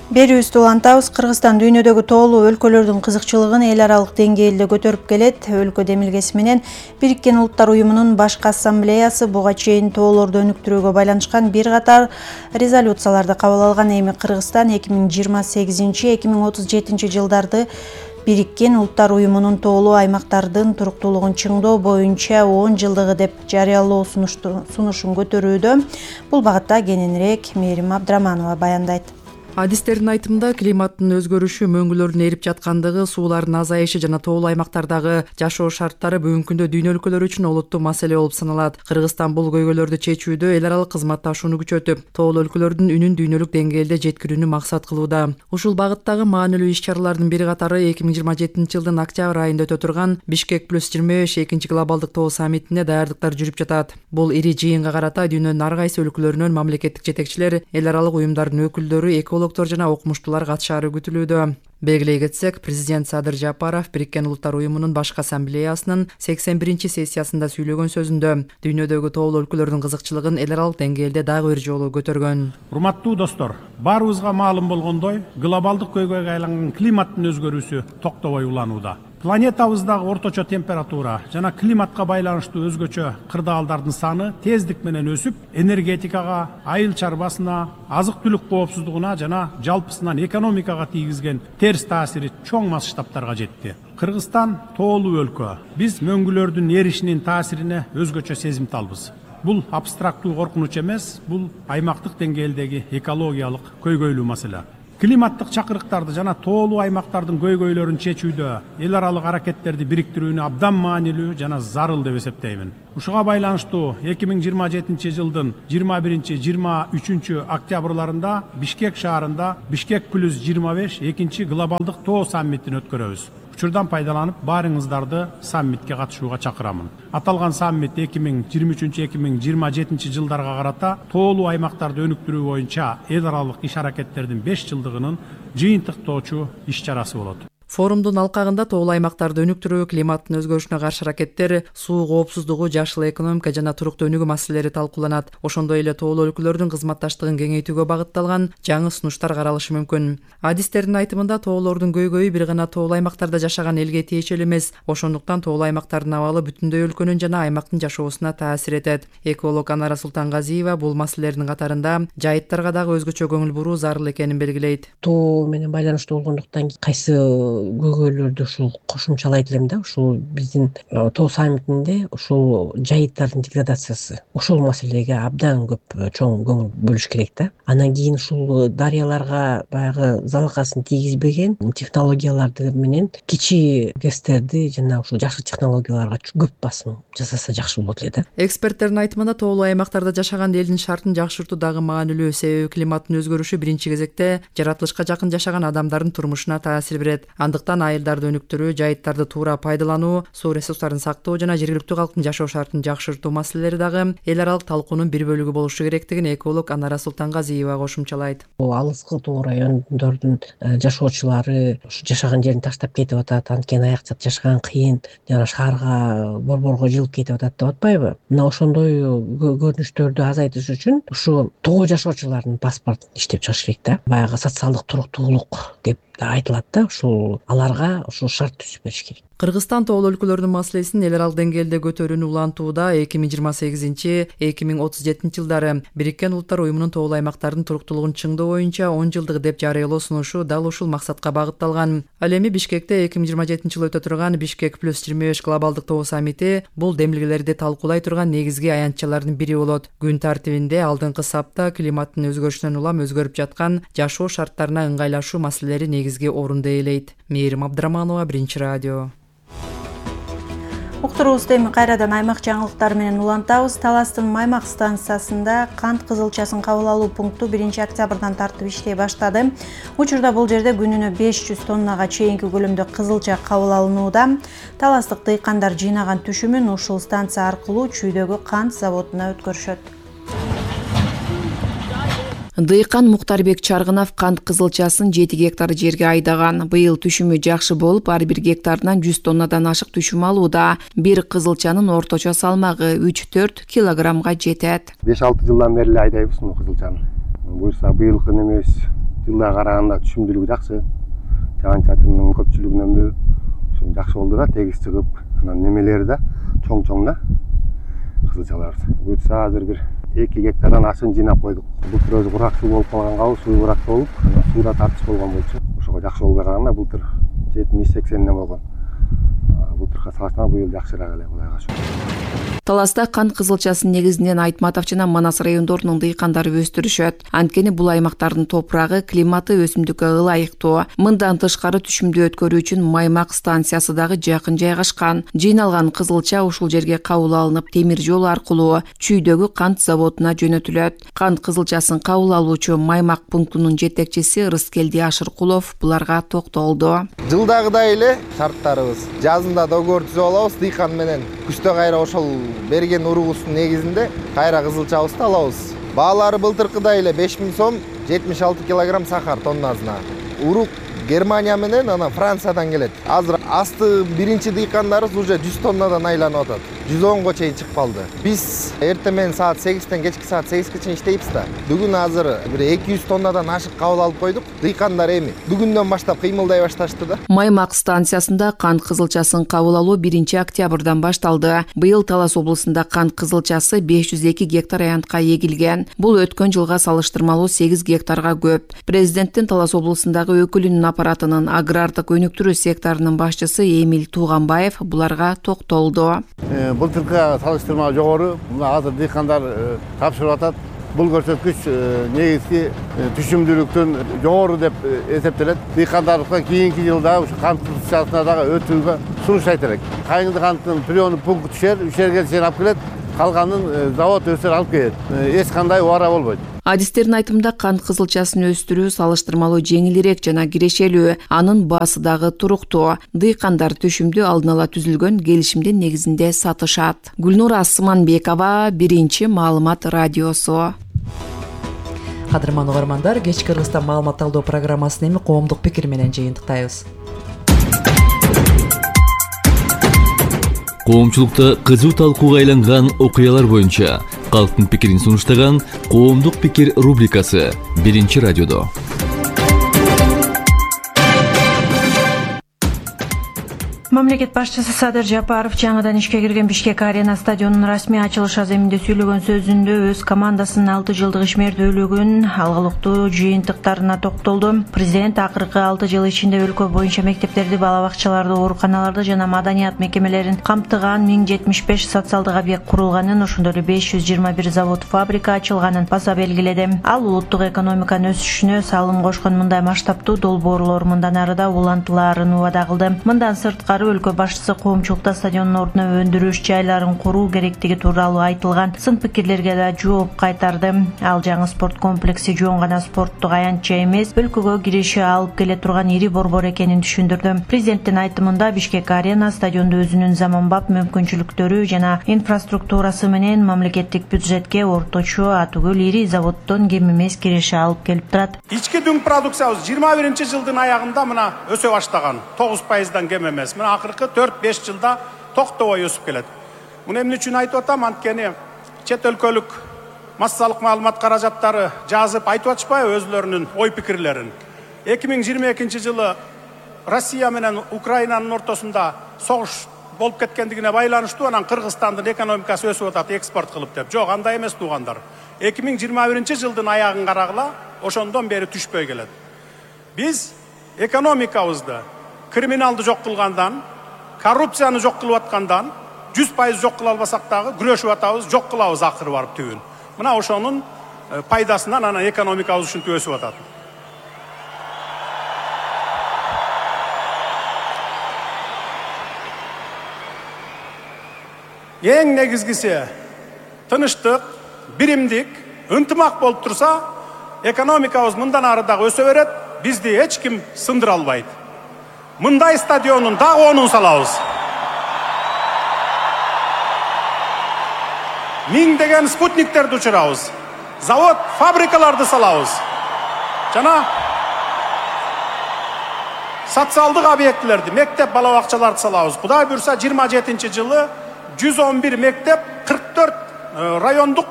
Берүүбүздү улантабыз. Кыргызстан дүйнөдөгү тоолуу өлкөлөрдүн кызыкчылыгын эл аралык деңгээлде көтөрүп келет. Өлкө демилгеси менен Бириккен Улуттар Уюмунун башкы ассамблеясы буга чейин тоолорду өнүктүрүүгө байланышкан бир катар резолюцияларды кабыл алган. Эми Кыргызстан эки миң жыйырма сегизинчи эки миң отуз жетинчи жылдарды Бириккен Улуттар Уюмунун тоолуу аймактардын туруктуулугун чыңдоо боюнча он жылдыгы деп жарыялоо сунушун көтөрүүдө. Бул багытта кененирээк Мээрим Абдраманова баяндайт. Адистердин айтымында климаттын өзгөрүшү, мөңгүлөрдүн эрип жаткандыгы, суулардын азайышы жана тоолуу аймактардагы жашоо шарттары бүгүнкү күндө дүйнө өлкөлөрү үчүн олуттуу маселе болуп саналат. Кыргызстан бул көйгөйлөрдү чечүүдө эл аралык кызматташууну күчөтүп, тоолуу өлкөлөрдүн үнүн дүйнөлүк деңгээлде жеткирүүнү максат кылууда. Ушул багыттагы маанилүү иш-чаралардын бир катары эки миң жыйырма жетинчи жылдын октябрь айында өтө турган Бишкек плюс жыйырма беш экинчи глобалдык тоо саммитине даярдыктар жүрүп жатат. Бул ири жыйынга карата дүйнөнүн ар кайсы өлкөлөрүнөн мамлекеттик жетекчилер, эл аралык уюмдардын өкүлдөрү, экологдор жана окумуштуулар катышаары күтүлүүдө. Белгилей кетсек, президент Садыр Жапаров Бириккен Улуттар Уюмунун башкы ассамблеясынын сексен биринчи сессиясында сүйлөгөн сөзүндө дүйнөдөгү тоолуу өлкөлөрдүн кызыкчылыгын эл аралык деңгээлде дагы бир жолу көтөргөн. Урматтуу достор, баарыбызга маалым болгондой, глобалдык көйгөйгө айланган климаттын өзгөрүүсү токтобой уланууда. Планетабыздагы орточо температура жана климатка байланыштуу өзгөчө кырдаалдардын саны тездик менен өсүп, энергетикага, айыл чарбасына, азык-түлүк коопсуздугуна жана жалпысынан экономикага тийгизген терс таасири чоң масштабтарга жетти. Кыргызстан тоолуу өлкө. Биз мөңгүлөрдүн эришинин таасирине өзгөчө сезимталбыз. Бул абстрактуу коркунуч эмес, бул аймактык деңгээлдеги экологиялык көйгөйлүү маселе. Климаттык чакырыктарды жана тоолуу аймактардын көйгөйлөрүн чечүүдө эл аралык аракеттерди бириктирүүнү абдан маанилүү жана зарыл деп эсептеймин. Ушуга байланыштуу эки миң жыйырма жетинчи жылдын жыйырма биринчи жыйырма үчүнчү октябрларында Бишкек шаарында Бишкек плюс жыйырма беш экинчи глобалдык тоо саммитин өткөрөбүз. Учурдан пайдаланып, баарыңыздарды саммитке катышууга чакырамын. Аталган саммит эки миң жыйырма үчүнчү эки миң жыйырма жетинчи жылдарга карата тоолуу аймактарды өнүктүрүү боюнча эл аралык иш аракеттердин беш жылдыгынын жыйынтыктоочу иш чарасы болот. Форумдун алкагында тоолуу аймактарды өнүктүрүү, климаттын өзгөрүшүнө каршы аракеттер, суу коопсуздугу, жашыл экономика жана туруктуу өнүгүү маселелери талкууланат. Ошондой эле тоолуу өлкөлөрдүн кызматташтыгын кеңейтүүгө багытталган жаңы сунуштар каралышы мүмкүн. Адистердин айтымында тоолордун көйгөйү бир гана тоолуу аймактарда жашаган элге тиешелүү эмес, ошондуктан тоолуу аймактардын абалы бүтүндөй өлкөнүн жана аймактын жашоосуна таасир этет. Эколог Анара Султангазиева бул маселелердин катарында жайыттарга дагы өзгөчө көңүл буруу зарыл экенин белгилейт. Тоо менен байланыштуу болгондуктан кайсы көйгөйлөрдү ушул кошумчалайт элем да. Ушул биздин тоо саммитинде ушул жайыттардын деградациясы, ушул маселеге абдан көп чоң көңүл бөлүш керек да. Анан кийин ушул дарыяларга баягы залакасын тийгизбеген технологияларды менен кичи гэстерди жана ушул жашыл технологияларга көп басым жасаса жакшы болот эле да. Эксперттердин айтымында тоолуу аймактарда жашаган элдин шартын жакшыртуу дагы маанилүү, себеби климаттын өзгөрүшү биринчи кезекте жаратылышка жакын жашаган адамдардын турмушуна таасир берет. Андыктан айылдарды өнүктүрүү, жайыттарды туура пайдалануу, суу ресурстарын сактоо жана жергиликтүү калктын жашоо шартын жакшыртуу маселелери дагы эл аралык талкуунун бир бөлүгү болушу керектигин эколог Анара Султангазиева кошумчалайт. Алыскы тоо райондордун жашоочулары ушу жашаган жерин таштап кетип атат, анткени аякча жашаган кыйын, жана шаарга борборго жылып кетип атат деп атпайбы? Мына ошондой көрүнүштөрдү азайтыш үчүн ушу тоо жашоочулардын паспортун иштеп чыгыш керек да. Баягы социалдык туруктуулук деп айтылат да, ушул аларга ушул шарт түзүп бериш керек. Кыргызстан тоолуу өлкөлөрдүн маселесин эл аралык деңгээлде көтөрүүнү улантууда эки миң жыйырма сегизинчи эки миң отуз жетинчи жылдары Бириккен Улуттар уюмунун тоолуу аймактардын туруктуулугун чыңдоо боюнча он жылдык деп жарыялоо сунушу дал ушул максатка багытталган. Ал эми Бишкекте эки миң жыйырма жетинчи жылы өтө турган Бишкек плюс жыйырма беш глобалдык тоо саммити бул демилгелерди талкуулай турган негизги аянтчалардын бири болот. Күн тартибинде алдыңкы сапта климаттын өзгөрүшүнөн улам өзгөрүп жаткан жашоо шарттарына ыңгайлашуу маселелери негизги орунду ээлейт. Мээрим Абдыраманова, Биринчи радио. Уктуруубузду эми кайрадан аймак жаңылыктары менен улантабыз. Таластын Маймак станциясында кант кызылчасын кабыл алуу пункту биринчи октябрдан тартып иштей баштады. Учурда бул жерде күнүнө беш жүз тоннага чейинки көлөмдө кызылча кабыл алынууда. Таластык дыйкандар жыйнаган түшүмүн ушул станция аркылуу чүйдөгү кант заводуна өткөрүшөт. Дыйкан Муктарбек Чаргынов кант кызылчасын жети гектар жерге айдаган. Быйыл түшүмү жакшы болуп, ар бир гектарынан жүз тоннадан ашык түшүм алууда. Бир кызылчанын орточо салмагы үч төрт килограммга жетет. беш алты жылдан бери айдайбыз муну кызылчаны. Буюрса быйылкы немебиз жылга караганда түшүмдүүлүгү жакшы. Жаан-чачындын көпчүлүгүнөнбү ошо жакшы болду да, тегиз чыгып, анан немелери да чоң-чоң да кызылчалар. Буюрса азыр бир эки гектардан ашын жыйнап койдук. Былтыр өзү курак суу болуп калганга, суу курак болуп, сууда тартыш болгон болчу. Ошого жакшы болбой калганда былтыр жетимиш сексенден болгон. Былтырга салыштырмалуу быйыл жакшыраак эле, Кудайга шүгүр. Таласта кант кызылчасын негизинен Айтматов жана Манас райондорунун дыйкандары өстүрүшөт. Анткени бул аймактардын топурагы, климаты өсүмдүккө ылайыктуу. Мындан тышкары түшүмдү өткөрүү үчүн Маймак станциясы дагы жакын жайгашкан. Жыйналган кызылча ушул жерге кабыл алынып, темир жол аркылуу чүйдөгү кант заводуна жөнөтүлөт. Кант кызылчасын кабыл алуучу Маймак пунктунун жетекчиси Рыскелди Ашыркулов буларга токтолду. Жылдагыдай эле шарттарыбыз. Жазында договор түзүп алабыз дыйкан менен. Күздө кайра ошол берген уругубуздун негизинде кайра кызылчабызды алабыз. Баалары былтыркыдай эле беш миң сом, жетимиш алты килограмм сахар тоннасына. Урук Германия менен анан Франциядан келет. Азыр асты биринчи дыйкандарыбыз уже жүз тоннадан айланып атат. жүз онго чейин чыгып калды. Биз эртең менен саат сегизден кечки саат сегизге чейин иштейбиз да. Бүгүн азыр бир эки жүз тоннадан ашык кабыл алып койдук. Дыйкандар эми бүгүндөн баштап кыймылдай башташты да. Маймак станциясында кант кызылчасын кабыл алуу биринчи октябрдан башталды. Быйыл Талас облусунда кант кызылчасы беш жүз эки гектар аянтка эгилген. Бул өткөн жылга салыштырмалуу сегиз гектарга көп. Президенттин Талас облусундагы өкүлүнүн аппаратынын агрардык өнүктүрүү секторунун башчысы Эмил Тууганбаев буларга токтолду. Былтыркыга салыштырмалуу жогору. Мына азыр дыйкандар тапшырып атат. Бул көрсөткүч негизги түшүмдүүлүктүн жогору деп эсептелет. Дыйкандарга кийинки жылда ушу кант кызылчасына дагы өтүүгө сунуштайт элек. Кайыңды канттын приёну пункт түшөр, үч жерге чейин алып келет. Калганын завод өсөр алып келет. Эч кандай убара болбойт. Адистердин айтымында кант кызылчасын өстүрүү салыштырмалуу жеңилирээк жана кирешелүү, анын баасы дагы туруктуу. Дыйкандар түшүмдү алдын ала түзүлгөн келишимдин негизинде сатышат. Гүлнура Асманбекова, Биринчи маалымат радиосу. Кадырман угармандар, кечки Кыргызстан маалымат талдоо программасын эми коомдук пикир менен жыйынтыктайбыз. Коомчулукта кызуу талкууга айланган окуялар боюнча калктын пикирин сунуштаган коомдук пикир рубрикасы Биринчи радиодо. Мамлекет башчысы Садыр Жапаров жаңыдан ишке кирген Бишкек Арена стадионунун расмий ачылыш аземинде сүйлөгөн сөзүндө өз командасынын алты жылдык ишмердүүлүгүн, алгылыктуу жыйынтыктарына токтолду. Президент акыркы алты жыл ичинде өлкө боюнча мектептерди, бала бакчаларды, ооруканаларды жана маданият мекемелерин камтыган миң жетимиш беш социалдык объект курулганын, ошондой эле беш жүз жыйырма бир завод, фабрика ачылганын баса белгиледи. Ал улуттук экономиканын өсүшүнө салым кошкон мындай масштабтуу долбоорлор мындан ары да улантылаарын убада кылды. Мындан сырткары өлкө башчысы коомчулукта стадиондун ордуна өндүрүш жайларын куруу керектиги тууралуу айтылган сын пикирлерге да жооп кайтарды. Ал жаңы спорт комплекси жөн гана спорттук аянтча эмес, өлкөгө киреше алып келе турган ири борбор экенин түшүндүрдү. Президенттин айтымында Бишкек Арена стадионду өзүнүн заманбап мүмкүнчүлүктөрү жана инфраструктурасы менен мамлекеттик бюджетке орточо атүгүл ири заводдон кем эмес киреше алып келип турат. Ички дүң продукциябыз жыйырма биринчи жылдын аягында мына өсө баштаган, тогуз пайыздан кем эмес. Акыркы төрт беш жылда токтобой өсүп келет. Муну эмне үчүн айтып атам? Анткени чет өлкөлүк массалык маалымат каражаттары жазып айтып атышпайбы өзлөрүнүн ой пикирлерин. эки миң жыйырма экинчи жылы Россия менен Украинанын ортосунда согуш болуп кеткендигине байланыштуу анан Кыргызстандын экономикасы өсүп атат экспорт кылып деп. Жок, андай эмес туугандар. эки миң жыйырма биринчи жылдын аягын карагыла, ошондон бери түшпөй келет. Биз экономикабызды криминалды жок кылгандан, коррупцияны жок кылып аткандан, жүз пайыз жок кыла албасак дагы күрөшүп атабыз, жок кылабыз акыры барып түбүн. Мына ошонун пайдасынан анан экономикабыз ушинтип өсүп атат. Эң негизгиси тынычтык, биримдик, ынтымак болуп турса, экономикабыз мындан ары дагы өсө берет, бизди эч ким сындыра албайт. Мындай стадионун дагы онун салабыз. Миңдеген спутниктерди учурабыз. Завод, фабрикаларды салабыз. Жана социалдык объектилерди, мектеп, бала бакчаларды салабыз. Кудай буйрса жыйырма жетинчи жылы жүз он бир мектеп, кырк төрт райондук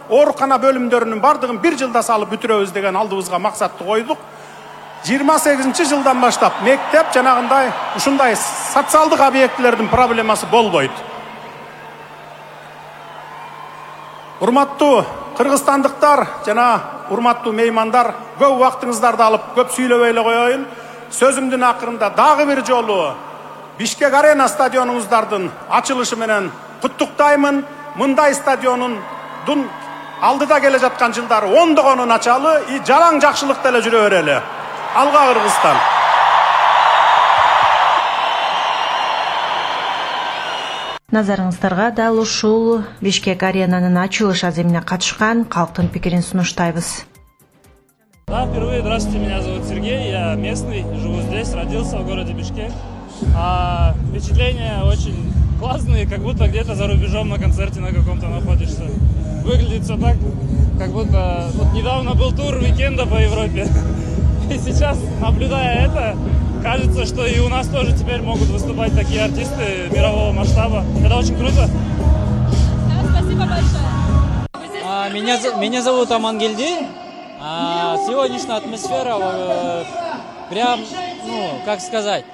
оорукана бөлүмдөрүнүн бардыгын бир жылда салып бүтүрөбүз деген алдыбызга максатты койдук. жыйырма сегизинчи жылдан баштап мектеп жанагындай ушундай социалдык объектилердин проблемасы болбойт. Урматтуу кыргызстандыктар жана урматтуу меймандар, көп убактыңыздарды алып көп сүйлөбөй эле коеюн. Сөзүмдүн акырында дагы бир жолу Бишкек Арена стадионуңуздардын ачылышы менен куттуктаймын. Мындай стадиондун алдыда келе жаткан жылдары ондогонун ачалы, и жалаң жакшылыкта эле жүрө берели. Алга Кыргызстан. Назарыңыздарга дал ушул Бишкек Аренанын ачылыш аземине катышкан калктын пикирин сунуштайбыз. Да, впервые, здравствуйте, меня зовут Сергей, я местный, живу здесь, родился в городе Бишкек. А, впечатления очень классные, как будто где-то за рубежом на концерте на каком-то находишься. Выглядит все так, как будто вот недавно был тур уикенда по Европе. И сейчас, наблюдая это, кажется, что и у нас тоже теперь могут выступать такие артисты мирового масштаба. Это очень круто. Спасибо большое. А, меня, меня зовут Амангельди. А, сегодняшняя атмосфера э, прям, ну, как сказать,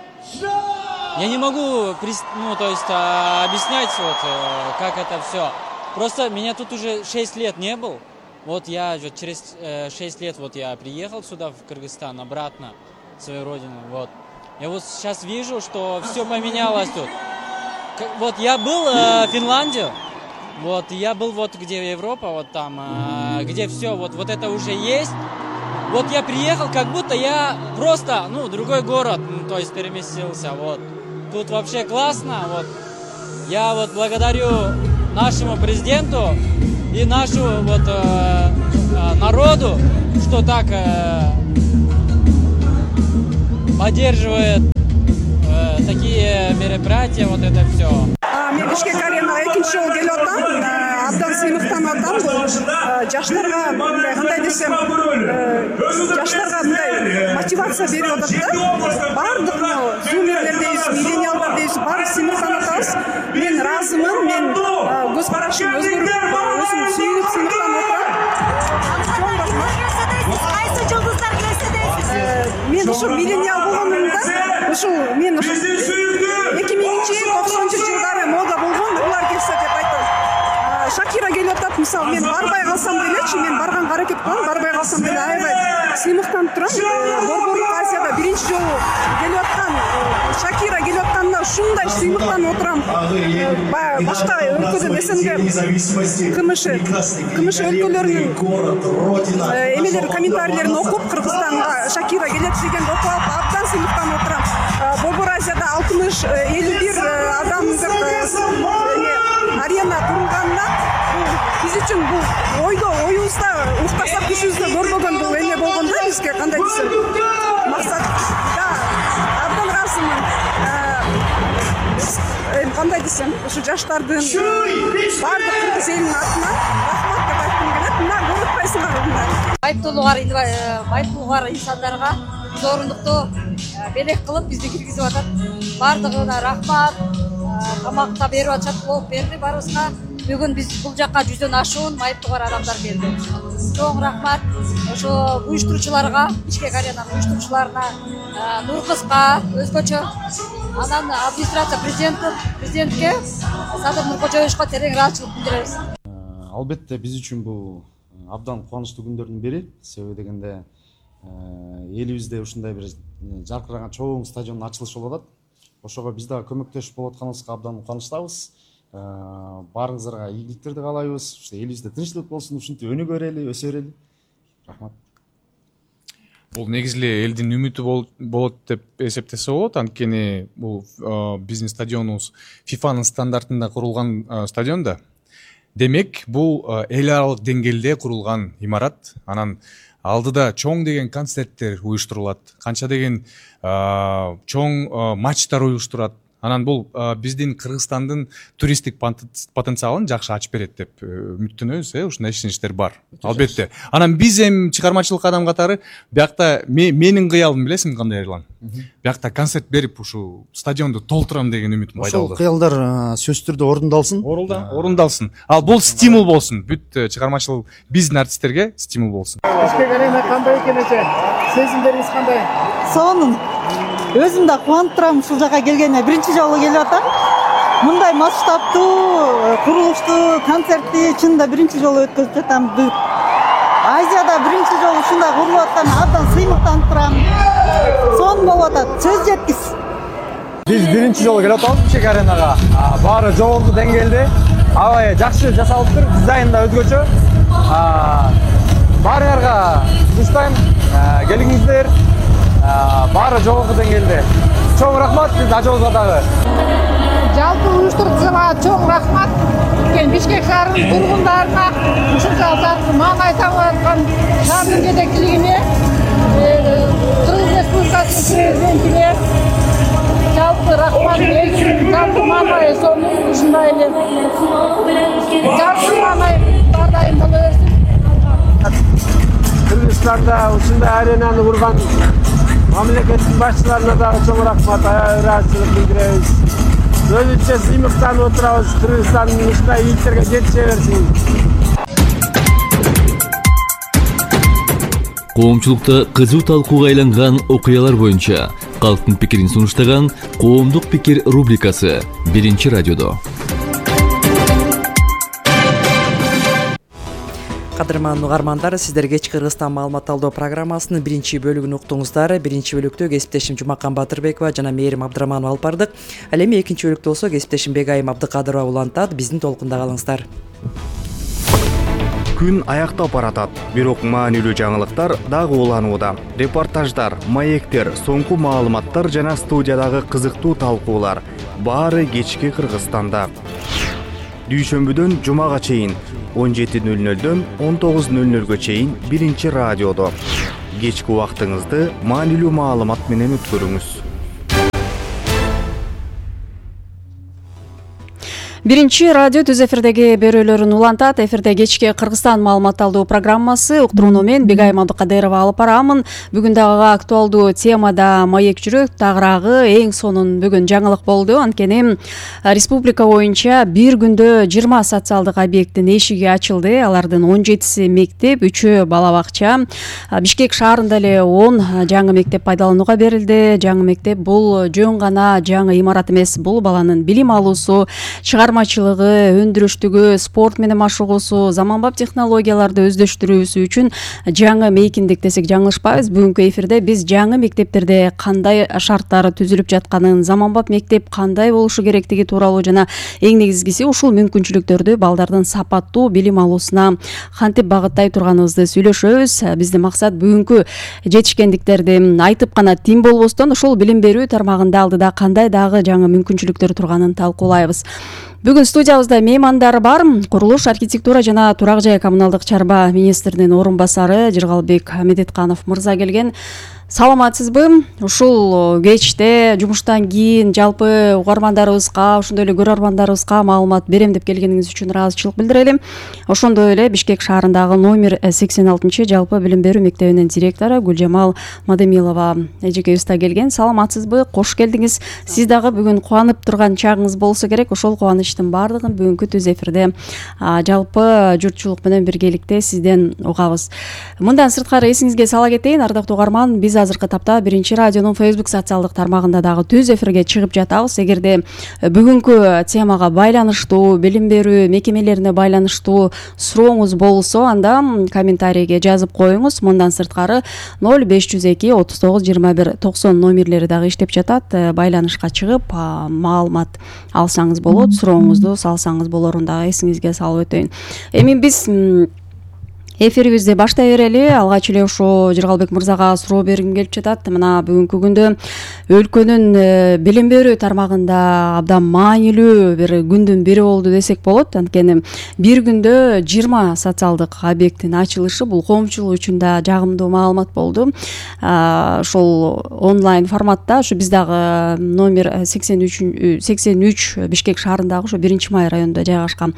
я не могу, ну, то есть а, объяснять, вот, э, как это все. Просто меня тут уже шесть лет не был. Вот я вот, через э, шесть лет вот я приехал сюда, в Кыргызстан, обратно в свою родину. Вот. Я вот сейчас вижу, что все поменялось тут. Вот я был э, в Финляндии, вот я был вот где Европа, вот там, э, где все, вот, вот это уже есть. Вот я приехал, как будто я просто, ну, другой город, ну, то есть переместился, вот. Тут вообще классно, вот. Я вот благодарю нашему президенту и нашему вот э, э, народу, что так э, поддерживает э, такие мероприятия, вот это все. Мен Бишкек аренага экинчи жолу келип атам. Абдан сыймыктанып атам. Жаштарга мындай кандай десем, жаштарга мындай мотивация берип атат да. Баардык зумерлер дейбиз, миллениалдар дейбиз, баары сыймыктанып атабыз. Мен ыраазымын, мен көз карашым өзгөрүп, өзүм сүйүнүп сыймыктанып атам. Кайсы жылдыздар келсе дейсиз? Мен ушул миллениал болгонумда, ушул мен ушул эки миңинчи токсонунчу жылдары мода болгон, улар келсе деп айтам. Шакира келип атат, мисалы мен барбай калсам делечи, мен барганга аракет кылам, барбай калсам деле аябай сыймыктанып турам. Борборлук Азияда биринчи жолу келип аткан Шакира келип атканда ушундай сыймыктанып отурам. Башка өлкөдөн СНГ КМШ КМШ өлкөлөрүнүн эмелери комментарийлерин окуп, Кыргызстанга Шакира келет дегенди окуп алып, абдан сыймыктанып отурам. Борбор Азияда алтымыш элүү бир адамдык арена турганында биз үчүн бул ойдо оюбузда уктасак түшүбүздө көрбөгөн бул эме болгон да бизге, кандай десем, максат да абдан ыраазымын. Эми кандай десем, ушу жаштардын баардык кыргыз элинин атынан рахмат деп айткым келет. Мына көрүп атпайсыңарбы мына байыптуулугар байыптуулугар инсандарга зоорундукту белек кылып бизди киргизип атат. Баардыгына рахмат. Тамакта берип атышат, болуп берди баарыбызга. Бүгүн биз бул жакка жүздөн ашуун майыптуулугар адамдар келди. Чоң рахмат ошо уюштуруучуларга, Бишкек аренанын уюштуруучуларына, Нуркызга өзгөчө, анан администрация президенти президентке, Садыр Нуркожоевичке терең ыраазычылык билдиребиз. Албетте биз үчүн бул абдан кубанычтуу күндөрдүн бири. Себеби дегенде элибизде ушундай бир жаркыраган чоң стадиондун ачылышы болуп атат. Ошого биз дагы көмөктөшүп болуп атканыбызга абдан кубанычтабыз. Баарыңыздарга ийгиликтерди каалайбыз. Уште элибизде тынчтык болсун, ушинтип өнүгө берели, өсө берели. Рахмат. Бул негизи эле элдин үмүтү болот деп эсептесе болот. Анткени бул биздин стадионубуз фифанын стандартында курулган стадион да. Демек, бул эл аралык деңгээлде курулган имарат. Анан алдыда чоң деген концерттер уюштурулат, канча деген чоң матчтар уюштурат. Анан бул биздин Кыргызстандын туристтик потенциалын жакшы ачып берет деп үмүттөнөбүз, э, ушундай ишеничтер бар. Албетте. Анан биз эми чыгармачылык адам катары биякта менин кыялым билесиңби кандай Эрлан? Биякта концерт берип ушул стадионду толтурам деген үмүтүм пайда болду. Ошол кыялдар сөзсүз түрдө орундалсын. Орундалсын. Ал бул стимул болсун. Бүт чыгармачылык биздин артисттерге стимул болсун. Бишкек арена кандай экен эже? Сезимдериңиз кандай? Сонун. Өзүм да кубанып турам ушул жака келгениме. Биринчи жолу келип атам. Мындай масштабтуу, курулуштуу концертти чынында биринчи жолу өткөзүп жатам. Азияда биринчи жолу ушундай курулуп аткан абдан сыймыктанып турам. Сонун болуп атат. Сөз жеткис. Биз биринчи жолу келип атабыз Бишкек аренага. Баары жогорку деңгээлде, аябай жакшы жасалыптыр, дизайн да өзгөчө. Баарыңарга суштайм, келиңиздер. Баары жогорку деңгээлде. Чоң рахмат биз ажообузга дагы. Жалпы уюштуруучуларга чоң рахмат. Бишкек шаарынын тургундарына, ушунча маанай табып аткан шаардын жетекчилигине, Кыргыз Республикасынын президентине жалпы рахмат. Жалпы маанай сонун ушундай эле. Жалпы маанай ар дайым боло берсин. Кыргызстанда ушундай аренаны курган мамлекеттин башчыларына дагы чоң рахмат, ыраазычылык билдиребиз. Өзүнчө сыймыктанып отурабыз. Кыргызстандын ушундай ийгиттерге жетише берсин. Коомчулукта кызуу талкууга айланган окуялар боюнча калктын пикирин сунуштаган Коомдук пикир рубрикасы биринчи радиодо. Кадырман угармандар, сиздер кеч Кыргызстан маалымат алуу программасынын биринчи бөлүгүн уктуңуздар. Биринчи бөлүктө кесиптешим Жумакан Батырбекова жана Мээрим Абдыраманова алып бардык. Ал эми экинчи бөлүктө болсо кесиптешим Бегайым Абдыкадырова улантат. Биздин толкунда калыңыздар. Күн аяктап баратат, бирок маанилүү жаңылыктар дагы уланууда. Репортаждар, маектер, соңку маалыматтар жана студиядагы кызыктуу талкуулар баары кечки Кыргызстанда. Дүйшөмбүдөн жумага чейин он жети нөл нөлдөн он тогуз нөл нөлгө чейин биринчи радиодо. Кечки убактыңызды маанилүү маалымат менен өткөрүңүз. Биринчи радио түз эфирдеги берүүлөрүн улантат. Эфирде кечки Кыргызстан маалымат алуу программасы. Уктурууну мен Бегайым Абдыкадырова алып барамын. Бүгүн дагы актуалдуу темада маек жүрөк, тагыраагы эң сонун бүгүн жаңылык болду. Анткени республика боюнча бир күндө жыйырма социалдык объекттин эшиги ачылды. Алардын он жетиси мектеп, үчөө бала бакча. Бишкек шаарында эле он жаңы мектеп пайдаланууга берилди. Жаңы мектеп бул жөн гана жаңы имарат эмес, бул баланын билим алуусу, чыгармачылыгы, өндүрүштүгү, спорт менен машыгуусу, заманбап технологияларды өздөштүрүүсү үчүн жаңы мейкиндик десек жаңылышпайбыз. Бүгүнкү эфирде биз жаңы мектептерде кандай шарттар түзүлүп жатканын, заманбап мектеп кандай болушу керектиги тууралуу жана эң негизгиси ушул мүмкүнчүлүктөрдү балдардын сапаттуу билим алуусуна кантип багыттай турганыбызды сүйлөшөбүз. Биздин максат бүгүнкү жетишкендиктерди айтып гана тим болбостон ушул билим берүү тармагында алдыда кандай дагы жаңы мүмкүнчүлүктөр турганын талкуулайбыз. Бүгүн студиябызда меймандар бар. Курулуш, архитектура жана турак жай коммуналдык чарба министринин орун басары Жыргалбек Медетканов мырза келген. Саламатсызбы? Ушул кечте жумуштан кийин жалпы угармандарыбызга, ошондой эле көрөрмандарыбызга маалымат берем деп келгениңиз үчүн ыраазычылык билдирели. Ошондой эле Бишкек шаарындагы номер сексен алтынчы жалпы билим берүү мектебинин директору Гүлжамал Мадемилова эжекебиз да келген. Саламатсызбы? Кош келдиңиз. Сиз дагы бүгүн кубанып турган чагыңыз болсо керек. Ошол кубанычтын баардыгын бүгүнкү түз эфирде жалпы журтчулук менен биргеликте сизден угабыз. Мындан сырткары эсиңизге сала кетейин, ардактуу угарман, биз азыркы тапта биринчи радионун Facebook социалдык тармагында дагы түз эфирге чыгып жатабыз. Эгерде бүгүнкү темага байланыштуу, билим берүү мекемелерине байланыштуу сурооңуз болсо, анда комментарийге жазып коюңуз. Мындан сырткары ноль беш жүз эки отуз тогуз жыйырма бир токсон номерлери дагы иштеп жатат. Байланышка чыгып маалымат алсаңыз болот, сурооңузду салсаңыз болорун дагы эсиңизге салып өтөйүн. Эми биз эфирибизди баштай берели. Алгач эле ошо Жыргалбек мырзага суроо бергим келип жатат. Мына бүгүнкү күндө өлкөнүн билим берүү тармагында абдан маанилүү бир күндүн бири болду десек болот. Анткени бир күндө жыйырма социалдык объекттин ачылышы бул коомчулук үчүн да жагымдуу маалымат болду. Ошол онлайн форматта ошо биз дагы номер сексен үч Бишкек шаарындагы ошо биринчи май районунда жайгашкан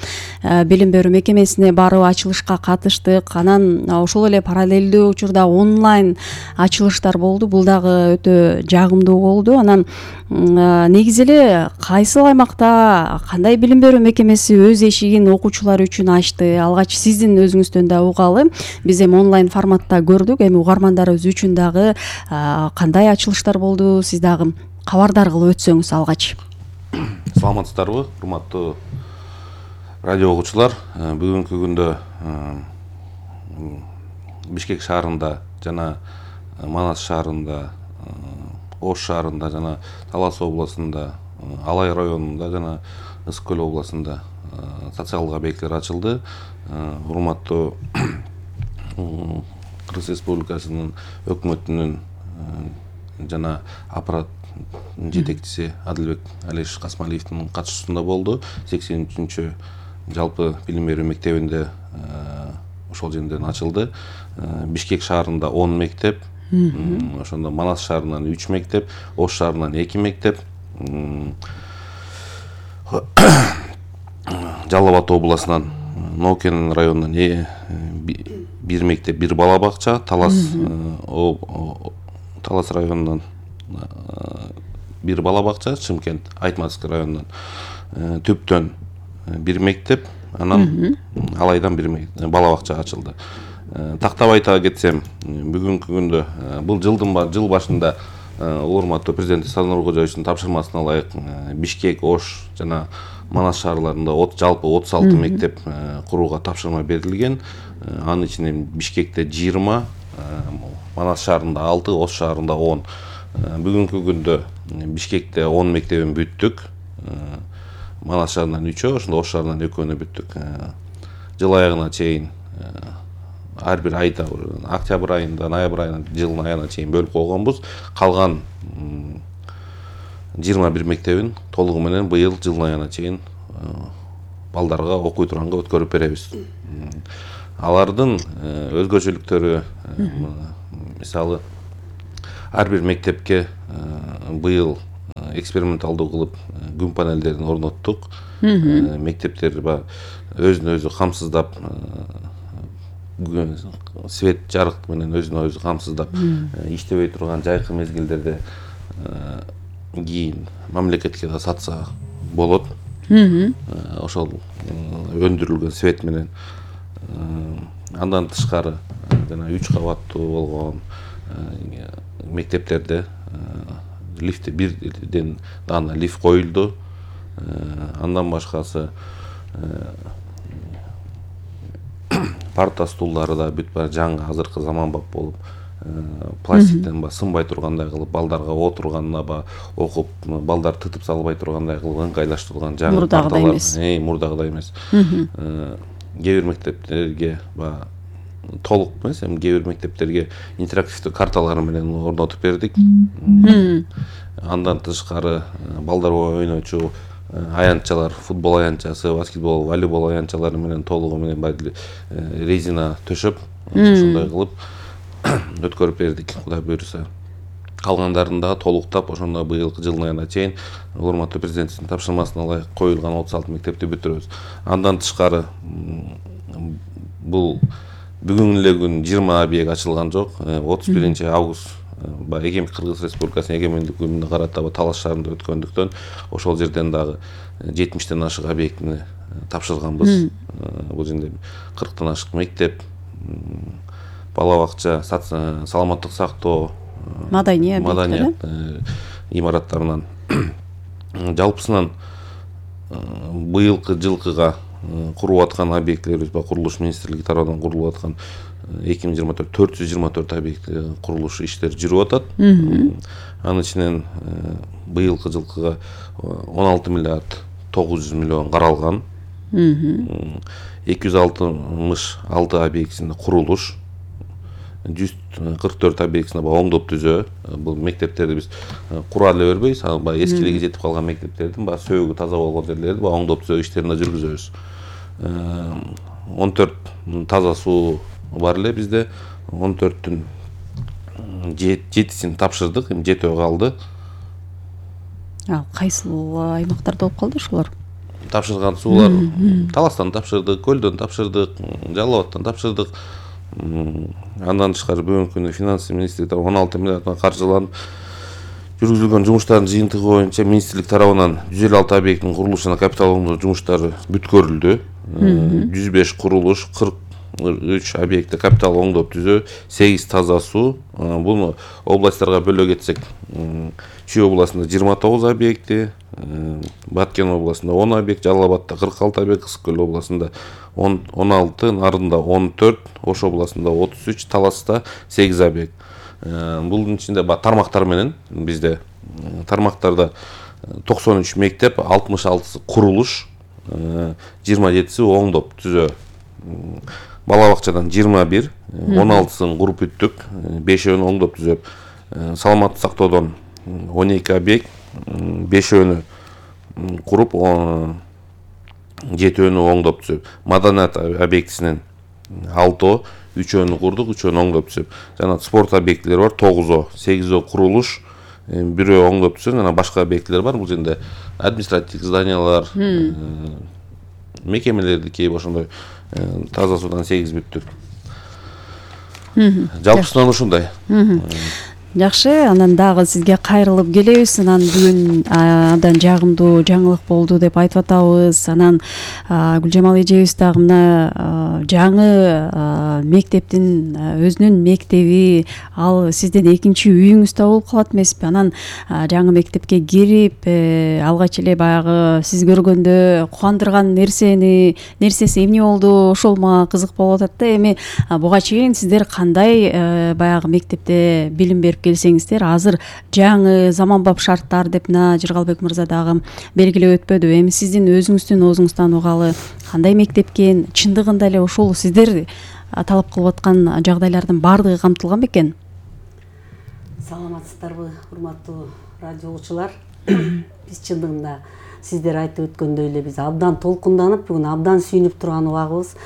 билим берүү мекемесине барып ачылышка катыштык. Анан ошол эле параллелдүү учурда онлайн ачылыштар болду. Бул дагы өтө жагымдуу болду. Анан негизи эле кайсыл аймакта кандай билим берүү мекемеси өз эшигин окуучулар үчүн ачты? Алгач сиздин өзүңүздөн да угалы. Биз эми онлайн форматта көрдүк. Эми угармандарыбыз үчүн дагы кандай ачылыштар болду? Сиз дагы кабардар кылып өтсөңүз алгач. Саламатсыздарбы, урматтуу радио угуучулар? Бүгүнкү күндө Бишкек шаарында жана Манас шаарында, Ош шаарында жана Талас областында, Алай районунда жана Ысык көл областында социалдык объекттер ачылды. Урматтуу Кыргыз Республикасынын өкмөтүнүн жана аппарат жетекчиси Адылбек Алиш Касмалиевдин катышуусунда болду. сексен үчүнчү жалпы билим берүү мектебинде ошол жерден ачылды. Бишкек шаарында он мектеп, ошондо Манас шаарынан үч мектеп, Ош шаарынан эки мектеп, Жалал Абад областынан Нокен районунан бир мектеп, бир бала бакча, Талас Талас районунан бир бала бакча, Чымкент Айтматовский районунан Түптөн бир мектеп, анан Алайдан бир бала бакча ачылды. Тактап айта кетсем, бүгүнкү күндө бул жылдын жыл башында урматтуу президент Садыр Нуркожоевичтин тапшырмасына ылайык Бишкек, Ош жана Манас шаарларында жалпы отуз алты мектеп курууга тапшырма берилген. Анын ичинен Бишкекте жыйырма, Манас шаарында алты, Ош шаарында он. Бүгүнкү күндө Бишкекте он мектебин бүттүк. Манас шаарынан үчөө, ошондо Ош шаарынан экөөнү бүттүк. Жыл аягына чейин ар бир айда, октябрь айында, ноябрь айында, жылдын аягына чейин бөлүп койгонбуз. Калган жыйырма бир мектебин толугу менен быйыл жылдын аягына чейин балдарга окуй турганга өткөрүп беребиз. Алардын өзгөчөлүктөрү, мисалы, ар бир мектепке быйыл эксперименталдуу кылып күн панелдерин орноттук. Мектептер өзүн өзү камсыздап, свет жарык менен өзүн өзү камсыздап иштебей турган жайкы мезгилдерде кийин мамлекетке да сатса болот. Ошол өндүрүлгөн свет менен. Андан тышкары жана үч кабаттуу болгон мектептерде лифти бирден дана лифт коюлду. Андан башкасы парта стулдары да бүт баары жаңы азыркы заманбап болуп, пластиктен ба сынбай тургандай кылып, балдарга отурганына ба окуп, балдар тытып салбай тургандай кылып ыңгайлаштырылган жаңы парталар. Эй, мурдагыдай эмес. Кээ бир мектептерге ба толук эмес, эми кээ бир мектептерге интерактивдүү карталар менен орнотуп бердик. Андан тышкары балдар ойночу аянтчалар, футбол аянтчасы, баскетбол, волейбол аянтчалары менен толугу менен резина төшөп, ошондой кылып өткөрүп бердик, Кудай буйруса. Калгандарын да толуктап, ошондо быйылкы жылдын аягына чейин урматтуу президенттин тапшырмасына ылайык коюлган отуз алты мектепти бүтүрөбүз. Андан тышкары бул бүгүн эле күн жыйырма объект ачылган жок. отуз биринчи август Эгем Кыргыз Республикасынын эгемендик күнүнө карата Талас шаарында өткөндүктөн ошол жерден дагы жетимиштен ашык объектини тапшырганбыз. Бул жерде кырктан ашык мектеп, бала бакча, саламаттык сактоо, маданият имараттарынан жалпысынан быйылкы жылкыга куруп аткан объектилерибиз ба курулуш министрлиги тарабынан курулуп аткан эки миң жыйырма төрт төрт жүз жыйырма төрт объект курулуш иштери жүрүп атат. Анын ичинен быйылкы жылкыга он алты миллиард тогуз жүз миллион каралган. эки жүз алтымыш алты объектисинде курулуш, жүз кырк төрт объектисинде оңдоп түзөө. Бул мектептерди биз кура эле бербейбиз, эскилиги жетип калган мектептердин сөөгү таза болгон жерлерди оңдоп түзөө иштерин да жүргүзөбүз. он төрт таза суу бар эле бизде, он төрттүн жетисин тапшырдык, эми жетөө калды. Ал кайсыл аймактарда болуп калды ошолор? Тапшырган суулар Таластан тапшырдык, Көлдөн тапшырдык, Жалал Абадтан тапшырдык. Андан тышкары бүгүнкү күндө финанс министрлиги он алты миллиарддан каржыланып жүргүзүлгөн жумуштардын жыйынтыгы боюнча министрлик тарабынан жүз элүү алты объекттин курулуш жана капиталдандыруу жумуштары бүткөрүлдү. жүз беш курулуш, кырк үч объектте капитал оңдоп түзөө, сегиз таза суу. Буну областтарга бөлө кетсек, Чүй областында жыйырма тогуз объекти, Баткен областында он объект, Жалал Абадта кырк алты объект, Ысык Көл областында он алты, Нарында он төрт, Ош областында отуз үч, Таласта сегиз объект. Бунун ичинде тармактар менен бизде тармактарда токсон үч мектеп, алтымыш алтысы курулуш, жыйырма жетиси оңдоп түзөө. Бала бакчадан жыйырма бир, он алтысын куруп бүттүк, бешөөнү оңдоп түзөп. Саламаттык сактоодон он эки объект, бешөөнү куруп, жетөөнү оңдоп түзөп. Маданият объектисинен алтоо, үчөөнү курдук, үчөөнү оңдоп түзөп. Жана спорт объектилери бар, тогузоо, сегизөө курулуш, бирөө оңдоп түзөп, жана башка объектилер бар. Бул жерде административдик зданиялар, мекемелерди кейип ошондой таза суудан сегиз бүттүк. Жалпысынан ушундай. Жакшы, анан дагы сизге кайрылып келебиз. Анан бүгүн абдан жагымдуу жаңылык болду деп айтып атабыз. Анан Гүлжамал эжебиз дагы мына жаңы мектептин өзүнүн мектеби, ал сиздин экинчи үйүңүз да болуп калат эмеспи? Анан жаңы мектепке кирип, алгач эле баягы сиз көргөндө кубандырган нерсени, нерсеси эмне болду? Ошол мага кызык болуп атат да. Эми буга чейин сиздер кандай баягы мектепте билим берип келсеңиздер, азыр жаңы заманбап шарттар деп мына Жыргалбек мырза дагы белгилеп өтпөдү. Эми сиздин өзүңүздүн оозуңуздан угалы, кандай мектеп экен, чындыгында эле ошол сиздер талап кылып аткан жагдайлардын баардыгы камтылган бекен? Саламатсыздарбы, урматтуу радио угуучулар. Биз чындыгында сиздер айтып өткөндөй эле биз абдан толкунданып, бүгүн абдан сүйүнүп турган убагыбыз.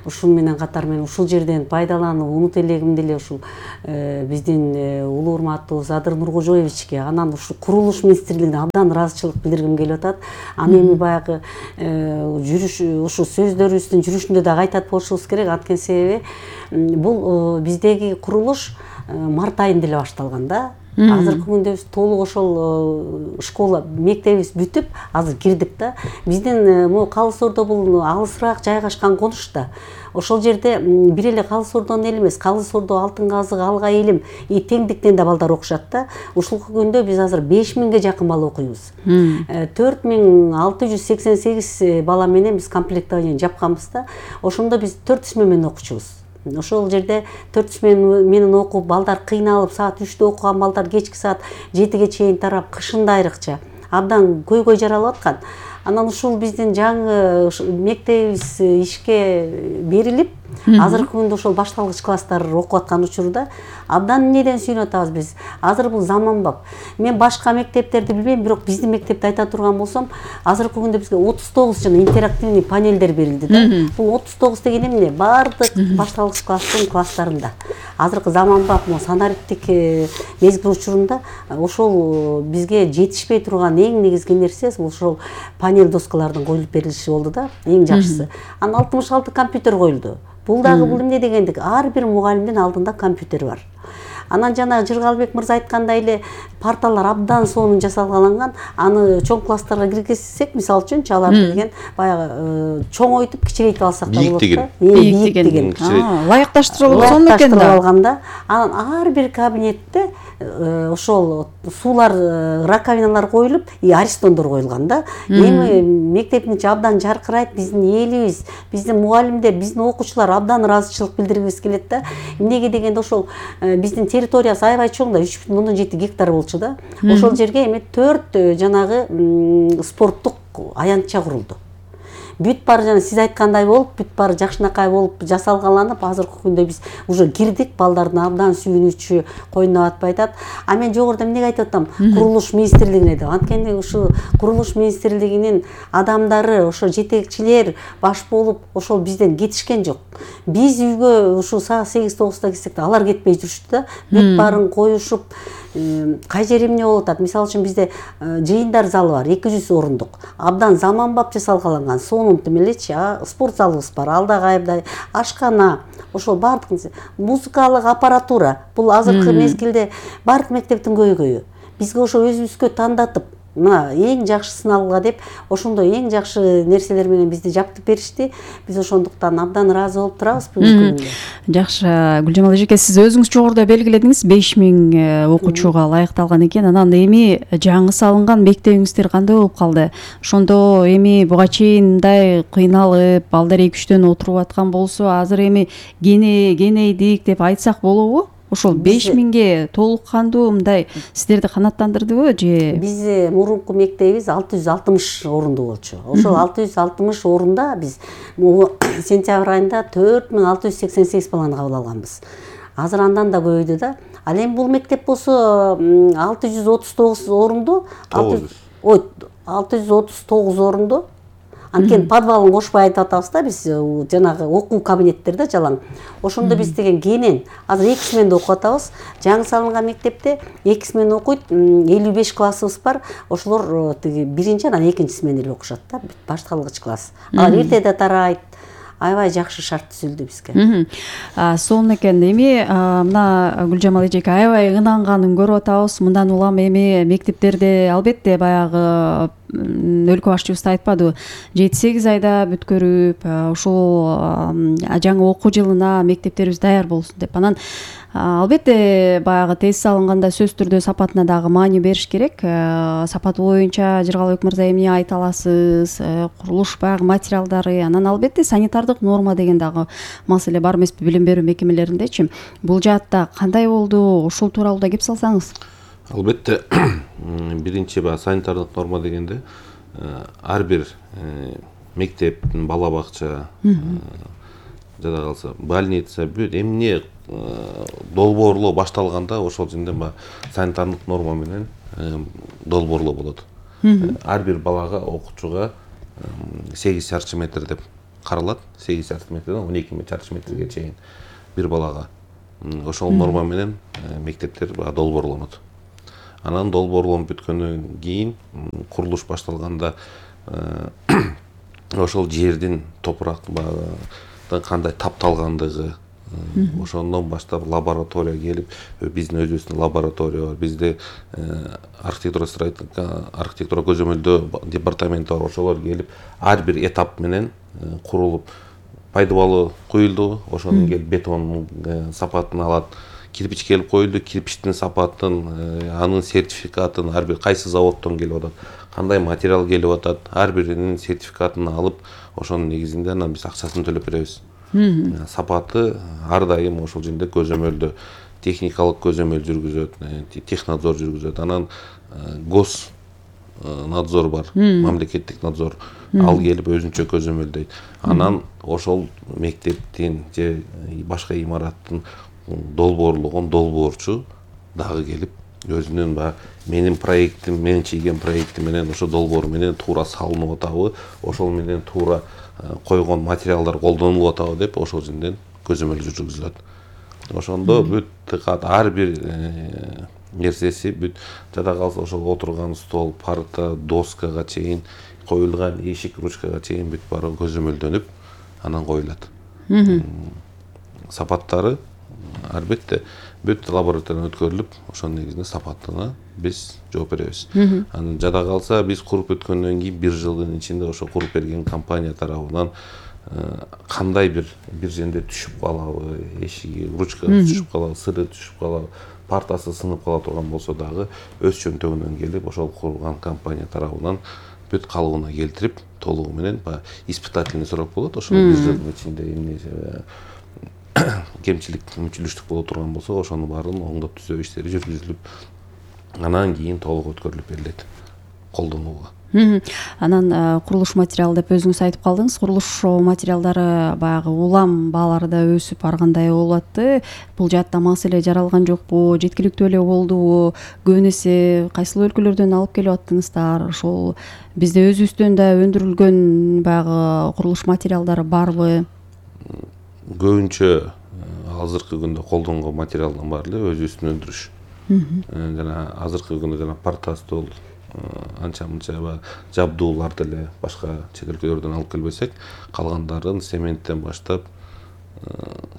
Ушун менен катар мен ушул жерден пайдаланып, унут элегимди эле ушул биздин улуу урматтуу Задыр Нуркожоевичке, анан ушул курулуш министрлигине абдан ыраазычылык билдиргим келип атат. Аны эми баягы жүрүш, ушул сөздөрүбүздүн жүрүшүндө дагы айтат болушубуз керек. Анткени себеби бул биздеги курулуш март айында эле башталган да. Азыркы күндө биз толук ошол школа, мектебибиз бүтүп, азыр кирдик да. Биздин могу Калыс Ордо бул алысыраак жайгашкан конуш да. Ошол жерде бир эле Калыс Ордонун эли эмес, Калыс Ордо, Алтын Казык, Алга элим, и теңдиктен да балдар окушат да. Ушулку күндө биз азыр беш миңге жакын бала окуйбуз. төрт миң алты жүз сексен сегиз бала менен биз комплектование жапканбыз да. Ошондо биз төрт жүз менен окучубуз. Ошол жерде төрт жүз менен окуп, балдар кыйналып, саат үчтө окуган балдар кечки саат жетиге чейин тарап, кышында айрыкча абдан көйгөй жаралып аткан. Анан ушул биздин жаңы мектебибиз ишке берилип, азыркы күндө ошол башталгыч класстар окуп аткан учурда абдан эмнеден сүйүнүп атабыз биз. Азыр бул заманбап. Мен башка мектептерди билбейм, бирок биздин мектепти айта турган болсом, азыркы күндө бизге отуз тогуз жана интерактивный панелдер берилди да. Бул отуз тогуз деген эмне? Баардык башталгыч класстын класстарында. Азыркы заманбап санариптик мезгил учурунда ошол бизге жетишпей турган эң негизги нерсе ошол панель доскалардын коюлуп берилиши болду да, эң жакшысы. Анан алтымыш алты компьютер коюлду. Бул дагы бул эмне дегендик? Ар бир мугалимдин алдында компьютер бар. Анан жана Жыргалбек мырза айткандай эле парталар абдан сонун жасалган. Аны чоң класстарга киргизсек, мисалы үчүн аларды деген баягы чоңойтуп кичирейтип алсак да болот да. Бийик деген. Лайыкташтырып алган экен да. Алганда, анан ар бир кабинетте ошол суулар, раковиналар коюлуп, и аристондор коюлган да. Эми мектептин ичи абдан жаркырайт, биздин элибиз, биздин мугалимдер, биздин окуучулар абдан ыраазычылык билдиргибиз келет да. Эмнеге дегенде ошол биздин территориясы аябай чоң да, үч бүтүн ондон жети гектар болчу да. Ошол жерге эми төрт жанагы спорттук аянтча курулду. Бүт баары жана сиз айткандай болуп, бүт баары жакшынакай болуп жасалганланып, азыркы күндө биз уже кирдик, балдардын абдан сүйүнүчү, койнуна батпай атат. А мен жогоруда эмнеге айтып атам? Курулуш министрлигине деп. Анткени ушу курулуш министрлигинин адамдары, ошо жетекчилер баш болуп, ошол бизден кетишкен жок. Биз үйгө ушу саат сегиз тогузда кирсек да, алар кетпей жүрүштү да. Бүт баарын коюшуп, кай жери эмне болуп атат? Мисалы үчүн бизде жыйындар залы бар, эки жүз орундук. Абдан заманбап жасалган, сонун тим элечи, спорт залыбыз бар, алда кайдай ашкана, ошол баардык музыкалык аппаратура. Бул азыркы мезгилде баардык мектептин көйгөйү. Бизге ошо өзүбүзгө тандатып, мына эң жакшысын алга деп, ошондой эң жакшы нерселер менен бизди жаптып беришти. Биз ошондуктан абдан ыраазы болуп турабыз бүгүнкү күндө. Жакшы, Гүлжамал эжеке, сиз өзүңүз жогоруда белгиледиңиз, беш миң окуучуга ылайыкталган экен. Анан эми жаңы салынган мектебиңиздер кандай болуп калды? Ошондо эми буга чейин мындай кыйналып, балдар эки үчтөн отуруп аткан болсо, азыр эми кене кенейдик деп айтсак болобу? Ошол беш миңге толук кандуу мындай сиздерди канааттандырдыбы же? Биз мурунку мектебибиз алты жүз алтымыш орундуу болчу. Ошол алты жүз алтымыш орунда биз сентябрь айында төрт миң алты жүз сексен сегиз баланы кабыл алганбыз. Азыр андан да көбөйдү да. Ал эми бул мектеп болсо алты жүз отуз тогуз орунду, алты жүз отуз тогуз орунду. Анткени подвалын кошпой айтып атабыз да биз, жанагы окуу кабинеттерде жалаң. Ошондо биз деген кенен азыр эки сменде окуп атабыз. Жаңы салынган мектепте эки смен окуйт, элүү беш классыбыз бар. Ошолор тиги биринчи анан экинчи смен эле окушат да, башталгыч класс. Алар эртеде тарайт. аябай жакшы шарт түзүлдү бизге. Сонун экен. Эми мына Гүлжамал эжеке аябай ынанганын көрүп атабыз. Мындан улам эми мектептерде албетте баягы өлкө башчыбыз айтпадыбы, жети сегиз айда бүткөрүп, ушул жаңы окуу жылына мектептерибиз даяр болсун деп. Анан албетте баягы тезис алынганда сөзсүз түрдө сапатына дагы маани бериш керек. Сапаты боюнча Жыргалбек мырза эмне айта аласыз? Курулуш баягы материалдары, анан албетте санитардык норма деген дагы маселе бар эмеспи билим берүү мекемелериндечи? Бул жаатта кандай болду? Ушул тууралуу да кеп салсаңыз. Албетте биринчи баягы санитардык норма дегенде ар бир мектеп, бала бакча, жада калса больница, бүт эмне долбоорлоо башталганда ошол жерде баягы санитардык норма менен долбоорлоо болот. Ар бир балага, окуучуга сегиз чарчы метр деп каралат. сегиз чарчы метрден он эки чарчы метрге чейин бир балага. Ошол норма менен мектептер баягы долбоорлонот. Анан долбоорлонуп бүткөндөн кийин курулуш башталганда ошол жердин топурак баягы кандай тапталгандыгы, ошондон баштап лаборатория келип, биздин өзүбүздүн лаборатория бар. Бизде архитектура архитектура көзөмөлдөө департаменти бар. Ошолор келип ар бир этап менен курулуп, пайдубалы куюлду, ошондон келип бетондун сапатын алат. Кирпич келип коюлду, кирпичтин сапатын, анын сертификатын, ар бир кайсы заводдон келип атат, кандай материал келип атат, ар биринин сертификатын алып, ошонун негизинде анан биз акчасын төлөп беребиз. Сапаты ар дайым ошол жерде көзөмөлдө, техникалык көзөмөл жүргүзөт, технадзор жүргүзөт. Анан гос надзор бар, мамлекеттик надзор, ал келип өзүнчө көзөмөлдөйт. Анан ошол мектептин же башка имараттын долбоорлогон долбоорчу дагы келип өзүнүн баягы менин проектим, мен чийген проектим менен ошо долбоор менен туура салынып атабы, ошол менен туура койгон материалдар колдонулуп атабы деп ошол жерден көзөмөл жүргүзүлөт. Ошондо бүт ар бир нерсеси, бүт жада калса ошол отурган стол, парта, доскага чейин, коюлган эшик, ручкага чейин бүт баары көзөмөлдөнүп, анан коюлат. Сапаттары албетте бүт лабораториядан өткөрүлүп, ошонун негизинде сапатына биз жооп беребиз. Анан жада калса биз куруп өткөндөн кийин бир жылдын ичинде ошо куруп берген компания тарабынан кандай бир бир жерде түшүп калабы, эшиги, ручкасы түшүп калабы, сыры түшүп калабы, партасы сынып кала турган болсо дагы өз чөнтөгүнөн келип ошол курулган компания тарабынан бүт калыбына келтирип, толугу менен баягы испытательный срок болот. Ошол бир жылдын ичинде эмне кемчилик, мүмкүнчүлүк боло турган болсо, ошонун баарын оңдоп түзөө иштери жүргүзүлүп, анан кийин толук өткөрүлүп берилет колдонууга. Анан курулуш материалы деп өзүңүз айтып калдыңыз. Курулуш материалдары баягы улам баалары да өсүп баргандай болуп атты. Бул жаатта маселе жаралган жокпу? Жеткиликтүү эле болдубу? Көбүн эсе кайсыл өлкөлөрдөн алып келип аттыңыздар? Ошол бизде өзүбүздөн да өндүрүлгөн баягы курулуш материалдары барбы? Көбүнчө азыркы күндө колдонгон материалдын баары эле өзүбүздүн өндүрүш. Жана азыркы күндө жана парта, стол, анча мынча жабдууларды эле башка чет өлкөлөрдөн алып келбесек, калгандарын цементтен баштап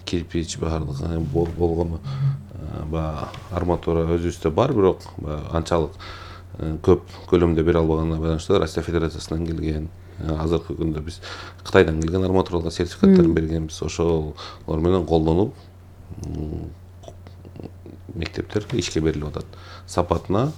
кирпич баардыгы болгону баягы арматура өзүбүздө бар, бирок анчалык көп көлөмдө бере албаганына байланыштуу Россия Федерациясынан келген, азыркы күндө биз Кытайдан келген арматураларга сертификаттарын бергенбиз. Ошолор менен колдонуп мектептер ишке берилип атат. Сапатына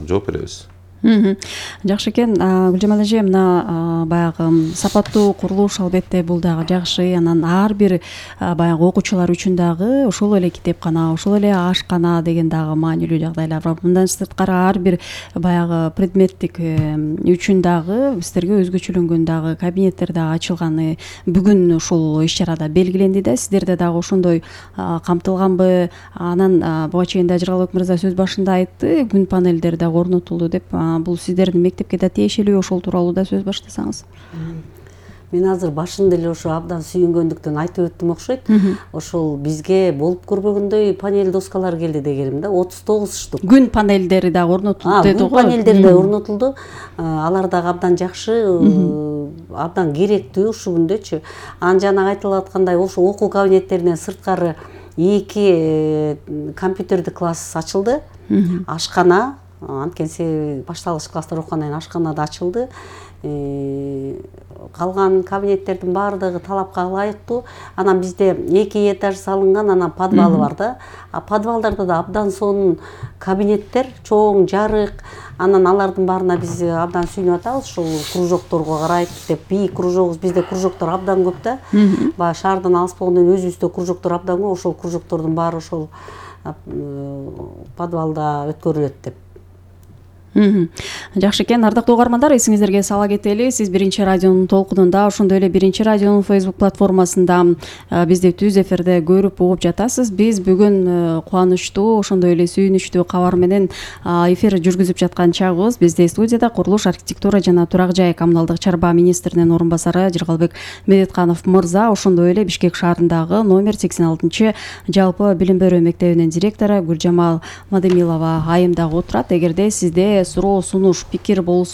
жооп беребиз. Жакшы экен. Гүлжамал эже, мына баягы сапаттуу курулуш албетте бул дагы жакшы. Анан ар бир баягы окуучулар үчүн дагы ошол эле китепкана, ошол эле ашкана деген дагы маанилүү жагдайлар бар. Мындан сырткары ар бир баягы предметтик үчүн дагы сиздерге өзгөчөлөнгөн дагы кабинеттер дагы ачылганы бүгүн ушул иш-чарада белгиленди да. Сиздерде дагы ошондой камтылганбы? Анан буга чейин да Жыргалбек мырза сөз башында айтты, күн панелдери дагы орнотулду деп. Бул сиздердин мектепке да тиешелүү, ошол тууралуу да сөз баштасаңыз. мен азыр башында эле ошо абдан сүйүнгөндүктөн айтып өттүм окшойт. Ошол бизге болуп көрбөгөндөй панель доскалар келди дегеним да, отуз тогуз штук. Күн панелдери да орнотулду деди го. Күн панелдери да орнотулду. Алар дагы абдан жакшы, абдан керектүү ушул күндөчү. Анан жана айтылып аткандай ошо окуу кабинеттеринен сырткары эки компьютердик класс ачылды. Ашкана, анткени башталгыч класстар окугандан кийин ашкана да ачылды. Калган кабинеттердин баардыгы талапка ылайыктуу. Анан бизде эки этаж салынган, анан подвалы бар да. А подвалдарда да абдан сонун кабинеттер, чоң, жарык. Анан алардын баарына биз абдан сүйүнүп атабыз. Ушул кружокторго карайт деп, бийик кружогубуз, бизде кружоктор абдан көп да. Баягы шаардан алыс болгондон өзүбүздө кружоктор абдан көп. Ошол кружоктордун баары ошол подвалда өткөрүлөт деп. Жакшы экен, ардактуу угармандар, эсиңиздерге сала кетели, сиз биринчи радионун толкунунда, ошондой эле биринчи радионун Facebook платформасында бизди түз эфирде көрүп угуп жатасыз. Биз бүгүн кубанычтуу, ошондой эле сүйүнүчтүү кабар менен эфир жүргүзүп жаткан чагыбыз. Бизде студияда курулуш, архитектура жана турак жай коммуналдык чарба министринин орун басары Жыргалбек Медетканов мырза, ошондой эле Бишкек шаарындагы номер сексен алтынчы жалпы билим берүү мектебинин директору Гүлжамал Мадемилова айым дагы отурат. Эгерде сизде суроо, сунуш, пикир болсо,